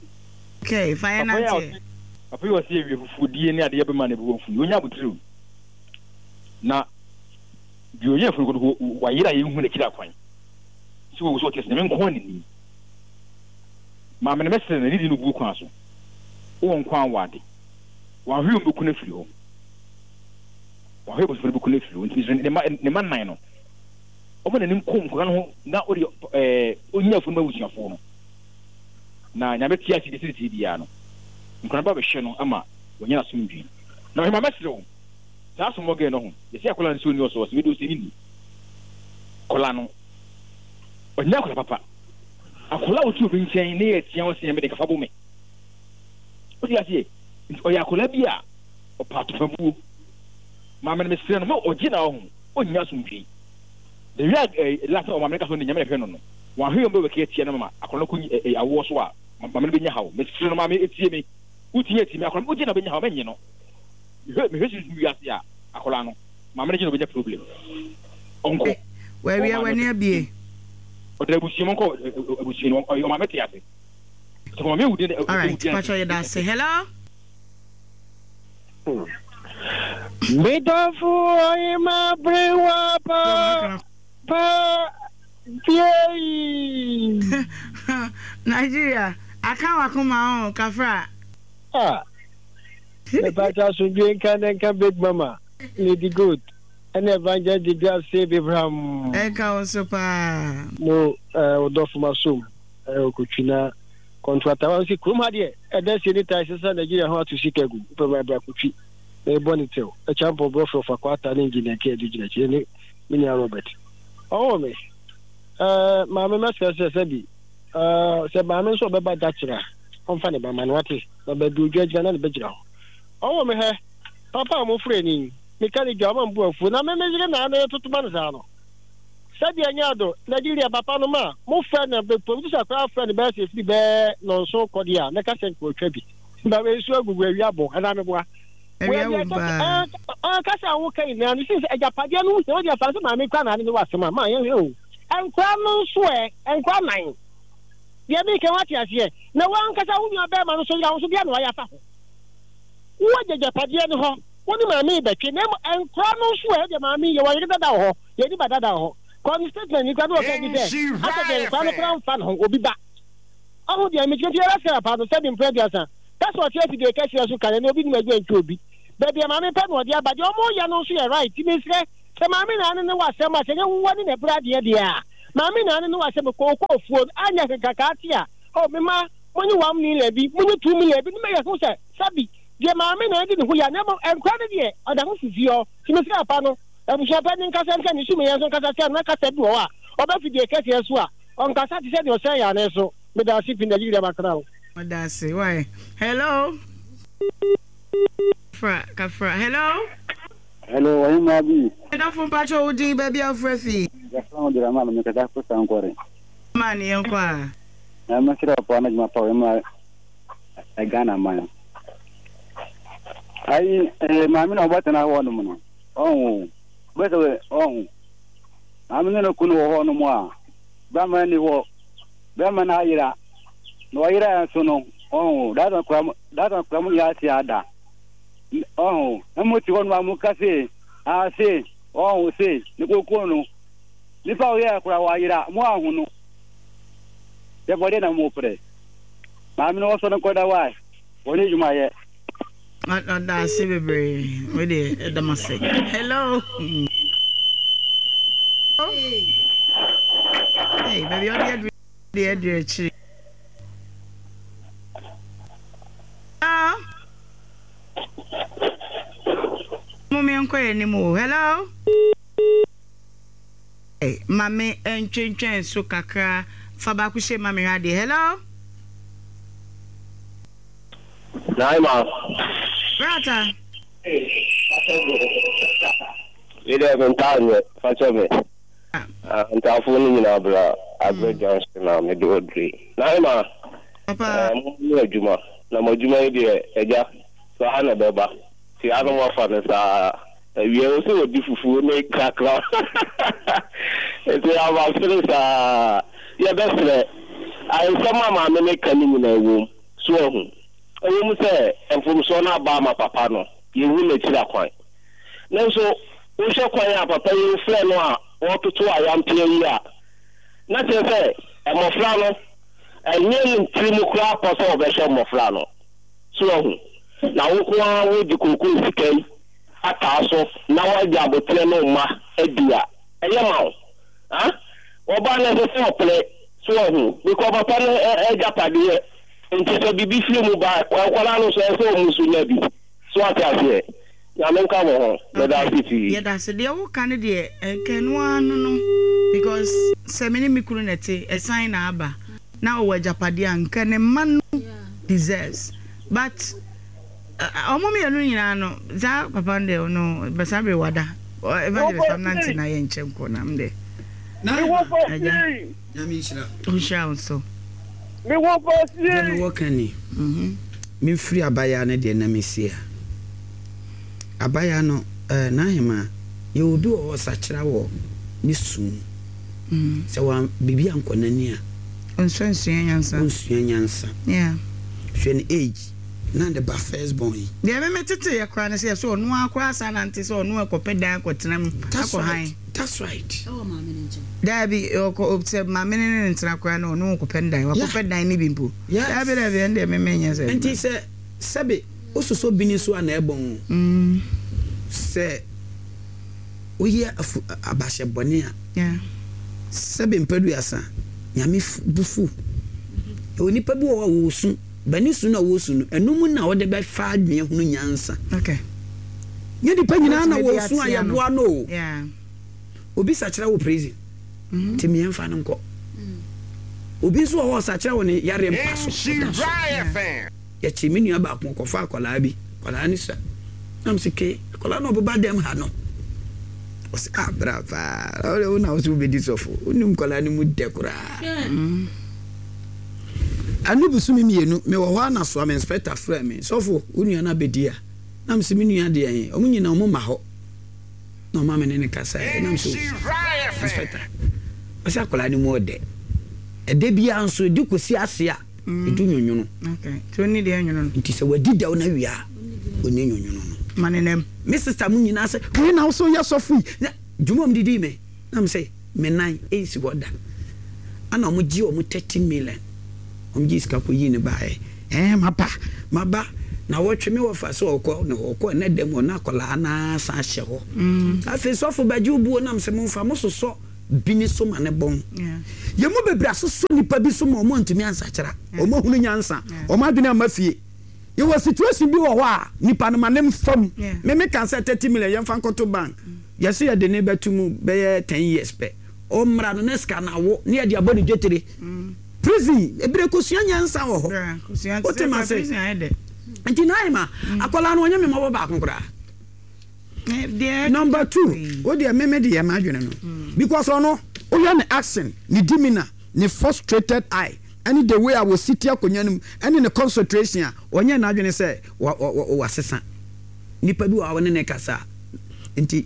Okay, fa yɛn nante. Papa yi ɔse awie fufudie ne adeɛ bɛma ne bo afu yi, ɔnya abotire o. Na deɛ ɔnya afunu koto wayera yɛnhu n'akyiri akwan. Sɛ wɔwu sɛ ɔte ase, Nyame nko ara na nim. Maame no mɛsrɛ no, ne di no buo kwan so. Wowɔ nkwa a wɔ ade. Wanhwɛ wɔn bɛku no afiri hɔ. Wanhwɛ abusua no bɛku no afiri hɔ. Nti mesrɛ ne mma ne mma nnan no. Ɔma n'ani nko nkwadaa no ho na ɔde ɛɛ ɔnya afunu ma abusuafoɔ no. Na Nyame te ase deɛ sɛdeɛ biara no nkwadaa no ba bɛhwɛ no ama wanya n'asomdwie. Na ɔhema mɛsrɛ wo saa asomɔ gɛɛ no ho yɛsɛ akwadaa nsuo ni ɔsɔ ɔsɛ wei deɛ ɔsɛ ne ni akwadaa no ɔnyɛ akwadaa papa akwadaa a ɔte obi nkyɛn ne yɛ tia ɔsɛ nyame de kafa bo me. Wote aseɛ? Nti ɔyɛ akwadaa bi a ɔpɛ atopabuo. Maame no mesrɛ no ma ɔgye na ɔho ɔnnya asomdwee. The way a eh, last time ɔmaame no ka sɛ ɔne nyame na ɛhwɛ no no, wanhwɛ yɛ ɔmbɛwɛke atia no mama akwadaa no kɔ eh, eh, awoɔ so a maame no bɛnya haw. Mesrɛ no maame etie me. Wotumi atie me akwadaa no wogye na ɔbɛnya haw mɛnye no. Mehwɛ mehwɛ sunsum wiase a akwadaa no maame no gye na ɔbɛnya problem. Ɔnkɔ. Wawia w'ani abie. Ɔda abusua mu ɔnkɔ abusua no ɔmaame te ase. Alright, pacho yɛda ase. Hello? Medɔfo ɔhema berewa pa pa biei. Nigeria, aka wakoma o, kafra. Ah, mepakyɛ asomdwe nka ne nka Big Mama, Lady Good, ɛne Evangelist Didias Save Abraham. Ɛnka wo nso paa. Mo eh, ɔdɔfo masom. Ɔkɔtwi na kɔntrata wa sɛ kurom ha deɛ ɛda sie ne tae sesa Nigeria ho ato sika gu wopɛ ma bra kɔtwi na ɛbɔ ne tɛw ɛkyampɔ brɔfrɔ fa kwata ne engineer kɛ adu gyina akyire ne me nua Robert ɔwɔ me ɛɛ maame mɛsrɛ sɛ sɛbi ɛɛ sɛ maame nso ɔbɛba dakyerɛ a ɔmfa ne ba ma no wate na baabi odwa gyina na ne bɛgyina hɔ ɔwɔ me hɛ papa a mofrɛ ni meka ne dwa ɔma mbu afuo na me meyere na ano yɛtoto ma no saa no Sɛdeɛ ɛnyɛ ado, Nigeria papa nom a mo frɛ no bɛ producer koraa frɛ no bɛyɛ sɛ ɛfiri bɛyɛ nɔnson kɔ deɛ a mɛka sɛ nka ɔtwa bi ba wei nso agugu awia bɔ anaa meboa Awia wom paa. Kasa a woka nyinaa no sɛ agyapadeɛ no wohia wode afa sɛ maame kora na ade ne wɔ asɛm a ma yɛhwɛ o nkora no nso ɛ nkora nan Deɛ mereka yi, woate aseɛ? Na wo ankasa wo nuabarima no nso yera wo nso, deɛn na wayɛ afa ho? Woagya agyapadeɛ no hɔ, wo ne maame rebɛtwe, na mmom nkwadaa no nso ɛ, deɛ maame yi, yɛwɔ yere dada wɔ hɔ, yɛnni ba dada wɔ hɔ. Kɔ ne statement yi koraa na ɔka bi sɛ, asɛ deɛ nkwadaa no koraa mfa ne ho, obi ba. Ɔho deɛ mekyerɛ nti yɛbɛsrɛ papa no sɛbi mprɛ aduasa, pɛ sɛ ɔte afidie kɛseɛ so ka na obi nim adwuma ntwi obi. Baabi a maame pɛ na ɔde aba, deɛ ɔmo yɛ no nso yɛ right, nti mesrɛ sɛ maame naa ne ne wɔ asɛm a, sɛ nyɛ wo ne na ɛbrɛ adeɛ deɛ a, maame naa ne ne wɔ asɛm, kɔ kɔ fuo no, anyɛ hwee nkakaa te a, oh me mma, monye one million bi, monye two million bi, ne mɛyɛ ho sɛ sɛbi deɛ maame naa di ne ho ya, na mmom nkora no deɛ ɔda ho fifie hɔ, nti mesrɛ papa no, abusua panin nkasa nkyerɛ ne sumeyɛ nso nkasa kyerɛ no na kasa bi wɔ hɔ a ɔba fidie kɛseɛ so a ɔnkasa te sɛ deɛ ɔsɛn yɛ ane so. Meda ase pii Nigeria makra wo. Meda ase why hello Kafra kafra hello. Hello ɔhemaa bi. Medɔfo mpakyɛ wo din baabi a wofrɛ fi. Yɛfrɛ me Dramani na mekasa firi Sankore. Dramani yɛnkɔ a. Na mɛsrɛ wo paa na adwuma pa wɔ ma Ghana man. Ayi eh, maame na ɔbɛtena hɔ nom no ɔho bɛsɛ ɔho maame ne no kunu wɔ hɔ nom a bɛma ni hɔ bɛma no ayera na ɔyera nso no ɔho dasa kura dasa kura mu yɛ ase ada ɔho na mo ti hɔ nom a mo ka se ase ɔho se ne koko no nipa ɔyɛ kura wayera mo aho no yɛ bɔde na mo pere maame no ɔsɔ no kɔda wae wɔne adwuma yɛ. Ɔda ase bebree. Wei deɛ ɛda m ase. Hello. Hey, baabi a ɔde aduru deɛ aduru akyiri. Hello. Mo menkɔ yɛn anim o. Hello. Hey, ma me ntwentwɛn so kakra. Fa baako hyɛ ma me hwɛ adeɛ. Hello. Naima. Brata. Me deɛ me ntaa nyɛ fa kyɛ me. Ah, ntaafoɔ no nyinaa bra Aggrey mm. Junction na mede ɔdure. Naima. Papa. Eh, mo ne adwuma na mo adwuma yi deɛ agya saa na ɛbɛba. Ti ano mo afa no saa. Awia wo sɛ wɔdi fufuo ne kakra. Nti abasere saa. Yɛbɛsrɛ. Nsɛm a maame ne ka no nyinaa wom. So wahu? Ɛwom sɛ mfomsoɔ no aba ama papa no, yɛnhu n'akyiri akwan. Nanso wohwɛ kwan a papa yi refrɛ no a ɔretoto ayampeɛ yi a, na kyerɛ sɛ mmɔfra no, ɛnyɛ ne tirim koraa pɔ sɛ ɔbɛhwɛ mmɔfra no. So wahu? Na wo nko ara wode kookoo sika yi ataa so na woagya aboterɛ ne wo mma adi a, ɛyɛ ma wo? Ha? Ɔbaa no, ɛsɛ sɛ ɔpene. So wahu? Because papa no agyapadeɛ nti sɛ biribi firi mu ba a, nkwadaa no nso ɛsɛ sɛ wɔn nso nya bi. So wate aseɛ? Nyame nka mo ho. Meda ase pii. Yɛda ase. Deɛ woka no deɛ nka ɛno ara no no because sɛ me ne me kunu na ɛte ɛsan na aba na ɔwɔ agyapadeɛ a nka ne mma no deserves but Ɔmo mmienu nyinaa no saa papa no deɛ ɔno bɛ saa bere wada evangelist am nante na yɛ nkyɛn kɔ na m deɛ agya nhyira wo nso. Deɛ mewɔ ka ni, memfiri abayaa no deɛ na mesi a. Abayaa no, eh, n'ahemaa, yɛwɔ obi wɔ hɔ ɔsakyera wɔ ne su mu. Sɛ wa biribi ankɔ n'ani a. Ɔnsua nsua nyansa. Ɔnsua nyansa. Yeah. Hwɛ ne age. Na ne ba first born yi. Deɛ me me tete yɛ koraa ne sɛ yɛsɛ ɔno ara koraa san nante sɛ ɔno ɛkɔpɛ dan akɔtena mu That's akɔ right, han. that's right. Ɛwɔ maame no nkyɛn. Daabi ɔkɔ sɛ maame no ne no ntena koraa no ɔno ɔkɔpɛ ne dan Yeah. wakɔpɛ dan no bi mpo. Yes. Daabi daabi ɛno deɛ me menyɛ sɛ. Nti sɛ sɛbe wososɔ bini so a na ɛbɔn o. Mm. Sɛ woyɛ afu abahyɛ bɔne a. Yeah. Sɛbe mpaduasa Nyame bo fu. Yɛwɔ nipa bi wɔ hɔ a wɔsu. Bɛne su no a wɔsu no, ɛno mu na wode bɛfa adwene ahunu nyansa. Okay. Nyɛ nipa nyinaa na Wobɛtumi de wɔsu a atea no. yɛboa no o. Yeah. Obi sakyera wɔ prison, nti mmiɛnfa no nkɔ. Obi nso wɔ hɔ ɔsakyera wɔ ne yareɛ mpa so, ɔda so. Yɛkyee me nua baako, ɔkɔfaa akwadaa bi, akwadaa no sua. Na mese ke, akwadaa no ɔbɛba dɛm ha no. Ɔse ah bra paa, na wo na wo so wobɛdi sɔfo, wonim nkwadaa no mu dɛ koraa. Ɛno bosome mmienu, mewɔ hɔ ara na Soame inspector frɛɛ me, sɔfo, wo nua no abɛdi a? Na mese me nua deɛ he, ɔmo nyinaa ɔmo mma hɔ. Na ɔma me ne no kasaeɛ, na mese oh, inspector, ɔse akwadaa no mu ɔdɛ. Ɛda biara nso ɛdi kɔsi ase a ɛdu nwonwono. Nti sɛ wadi dɛw no awie a ɔnni nwonwono no. Me sista mu nyinaa sɛ wei na wo so yɛ sɔfo yi na dwuma ɔm didii me na me sɛ me nan ɛnsi hɔ da. Ana ɔmo gye ɔmo thirty million ɔmo gye sika kɔ yii ne baeɛ ɛɛ maba maba na wɔtwe me wɔfa sɛ ɔkɔ na ɔkɔ ɛnɛ dɛm hɔ na akwadaa naa san hyɛ hɔ. Afei sɔfo bɛgye obuo nam sɛ momfa mo sosɔ bi ne so ma ne bɔn. Yɛn mu bebree asosɔ nipa bi so ma ɔmo antumi ansakyera. Ɔmo ahunu nyansa. Ɔmo adwene amma fie. Yɛwɔ situation bi wɔ hɔ a nipa no ma ne mfa mu. Me me ka sɛ thirty million yɛmfa nkɔto bank. Yɛse yɛde ne bɛto mu bɛyɛ ten years pɛ. Ɔmmra no na sika no awo ne yɛde abɔ ne dwetire. Prison ebire kosua nyansa wɔ hɔ. Wote ma se? Nti Naima, akwadaa no ɔnyɛ me mmɔbɔ baako koraa. Number two, wo deɛ me me deɛ m'adwene no because ɔno wohwɛ ne action, ne demeanor, ne frustrated eye ɛne the way a wɔsi te akonnwa no mu ɛne ne concentration a ɔnyɛ n'adwene sɛ wasesa. Nipa bi wɔ a wɔne ne kasa nti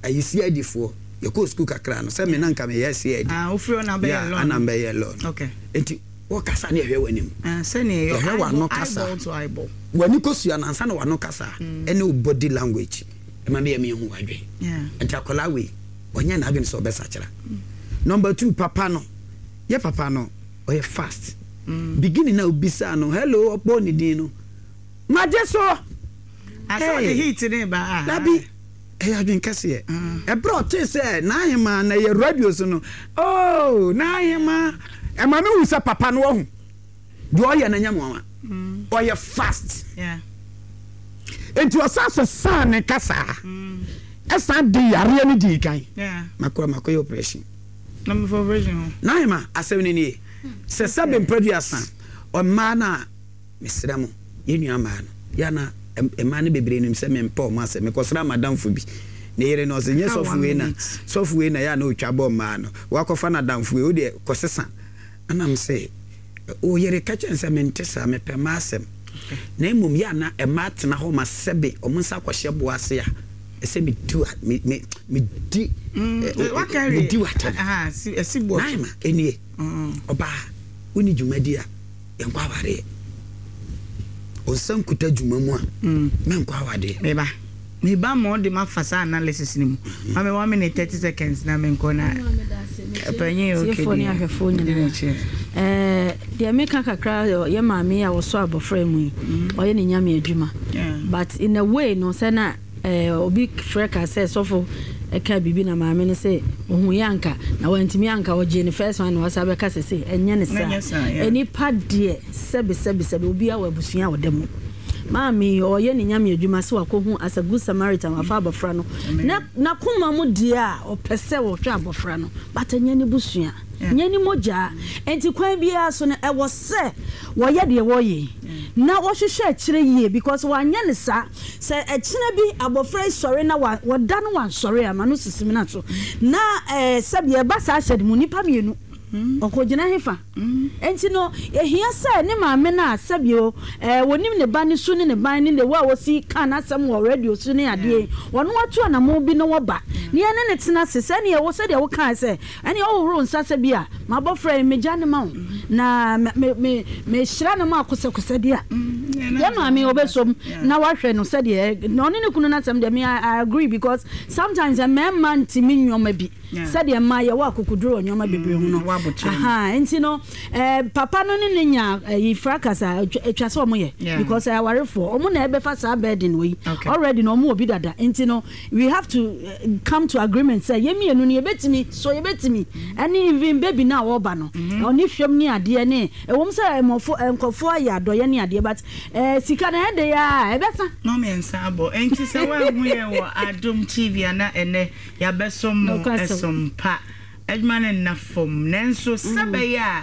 ayi C I D foɔ yɛkɔɔ sukuu kakra no sɛ me na nka meyɛ C I D. Ah, wofiri hɔ na bɛyɛ law. Ana mbɛyɛ law no. Okay. Nti wɔkasa ne yɛhwɛ w'anim. Sɛnea yɛhwɛ w'ano kasa. W'ani kɔsua no ansa na w'ano kasa ɛne wo body language ɛma bɛyɛ mehu w'adwene. Nti akwadaa wei ɔnyɛ n'adwene sɛ ɔbɛsakyera. Number two, papa no yɛ papa no ɔyɛ fast. Beginning na obisaa no hello ɔbɔ ne din no magye so. Asɛ heat ne ba. Dabi ɛyɛ adwene kɛseɛ. Ɛberɛ ɔtee sɛ n'ahema na ɛyɛ radio so no oh n'ahema ɛma me hu sɛ papa no ɔhu deɛ ɔyɛ no nyɛ mmoawa. Ɔyɛ fast. Nti ɔsan sesaa ne kasaa ɛsan de yareɛ no dii kan. Makɔ makɔyɛ operation. N'ahema asɛm no nie sɛ sɛbe mprɛduasa ɔmmaa no a mesrɛ mo yɛn nua mmaa no yɛana mmaa no bebree nim sɛ mempɛ ɔmo asɛm. Mekɔsra madamfo bi ne yere no ɔsɛ nyɛ sɔfo wei na sɔfo wei na yɛ a na ɔtwa bɔ mmaa no wakɔfa n'adamfo wei wodeɛ kɔsesa. Anam sɛ wo yere ka kyɛn sɛ mente saa mepɛ mmaa asɛm na mmom yɛ a na mmaa tena hɔ ma sɛbe ɔmo nsa kɔhyɛ boɔ ase a ɛsɛ medi wa me me medi medi w'atɛm. Naima enie ɔbaa wonni dwumadi a yɛnkɔ awareɛ. Ɔnsa nkuta dwuma mu a mɛnkɔ awadeɛ. Meba meba ma ɔde ma fa saa analysis ni mu. Ma me one minute thirty seconds na menkɔ na panyin okay deɛ. Eh, deɛ meka kakra yɛ maame a wɔsɔ abɔfra mu yi ɔyɛ ne nyame adwuma. But in a way no sɛ na obi frɛ ka sɛ sɔfo ɛka biribi na maame no sɛ ohun yɛ anka na wantumi anka ɔgye ne first one na wasa bɛka sɛ sɛ ɛnyɛ ne saa. Enipa deɛ sɛbi sɛbi sɛbi obi a wɔ abusua a ɔda mu. Maame ɔyɛ ne nyame adwuma sɛ wakɔhu as a good Samaritan wafa abɔfra no na n'akoma mu deɛ a ɔpɛ sɛ wɔhwɛ abɔfra no but ɛnyɛ ne busua nyɛ ne mogya. Enti kwan biara so no ɛwɔ sɛ wɔyɛ deɛ wɔyɛ na wɔhwehwɛ akyerɛ yie because wɔanyɛ ne saa sɛ ɛkyerɛ bi abɔfra yi sɔre na wɔda no wansɔre ama no sisi na so na ɛɛ sɛbi ɛba saa ahyɛ de mu nipa mmienu ɔkɔgyina hefa. Enti no ehia sɛ ne maame na sɛbi o ɛɛ wɔnim ne ba ne so ne ne ban ne ne wo a wɔsi kan asɛm wɔ radio so ne adeɛ wɔn ato anamo bi na wɔba ne yɛn ne ne tena se sɛ ne ɛwɔ sɛdeɛ wɔka sɛ ɛne ɔhohoro nsa sɛ bi a mabɔfra yi megya ne ma wo na me me me hyira ne ma akosɛkosɛ deɛ yɛ maame ɔbɛsom na wahwɛ no sɛdeɛ na ɔne ne kunu n'asɛm deɛ me I agree because sometimes mmarima ntumi nneɛma bi sɛdeɛ mmaa yɛwɔ akokoduro wɔ nneɛma bebree ho no. Aha, nti no eh, papa no ne ne nya eh, fracas a atwa sɛ ɔmo yɛ because awarefoɔ ɔmo na ɛbɛfa saa burden wei already no ɔmo wɔ bi dada. Nti no we have to uh, come to agreement sɛ yɛ mmienu no yɛbɛtumi so yɛbɛtumi ɛne even baby na ɔba no ɔne hwɛm ne adeɛ ne ɛwɔm sɛ ɛmɔfo nkɔfoɔ ayɛ adɔyɛ ne adeɛ but eh, sika na ɛde yɛ a ɛbɛsa na ɔmɛnsa abɔ. Nti sɛ woahu yɛ wɔ Adom T V ana ɛnɛ yɛabɛsom mo ɛsom pa adwuma no nna fam nanso sɛ bɛyɛ a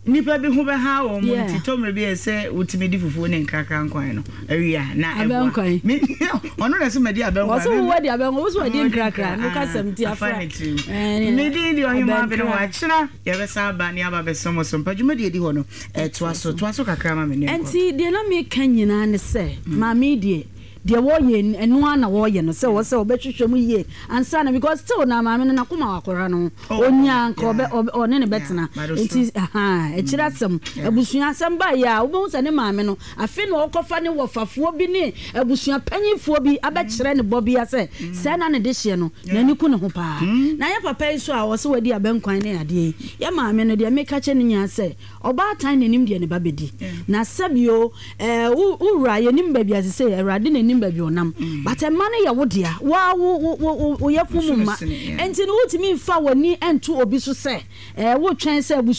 nipa bi ho bɛha wɔ mu nti tɔmmerɛ bi yɛ sɛ wotumi di fufuo ne nkrakra nkwan no awia na ɛboa ɔno na sɛ madi abɛnkwan wɔso wowɔ di abɛnkwan wo so wadi nkrakra no kasɛm ti afra ne tirim ne din deɛ ɔhema bene wɔ akyena yɛbɛsa aba ne aba bɛsɛm so mpa dwumadi adi hɔ no ɛtoa so toa so kakra ma me ne nkɔ. Enti deɛ na meka nyinaa ne sɛ maame deɛ Deɛ wɔyɛ ɛno ara na wɔyɛ no sɛ wɔ sɛ wɔbɛhwehwɛ mu yie ansa na, because still na maame no n'akoma wɔ akɔra no ho, onya nka ɔbɛ ɔbɛ ɔne ne bɛtena. Nti akyire asɛm, abusua asɛm ba yɛ a, wobɛhu sɛ ne maame no afei na ɔkɔfa ne wɔfafoɔ bi ne abusua panyinfoɔ bi abɛkyerɛ ne bɔbea sɛ sɛɛ na ne de hyeɛ no n'ani ku ne ho paa. Na yɛ papa yi so a ɔsɛ wadi abɛnkwan ne adeɛ yi, yɛ maame no deɛ meka kyɛ ne nyinaa sɛ ɔbaatan n'anim deɛ ne ba bɛdi na sɛbio ɛɛ wo wura yɛnim baabi a sɛ Awurade n'anim baabi ɔnam, but ɛma no yɛ wo dea, waa wo wo wo wo yɛ funu mu ma, nti no wotumi nfa w'ani nto obi so sɛ ɛɛ wotwɛn sɛ abusua.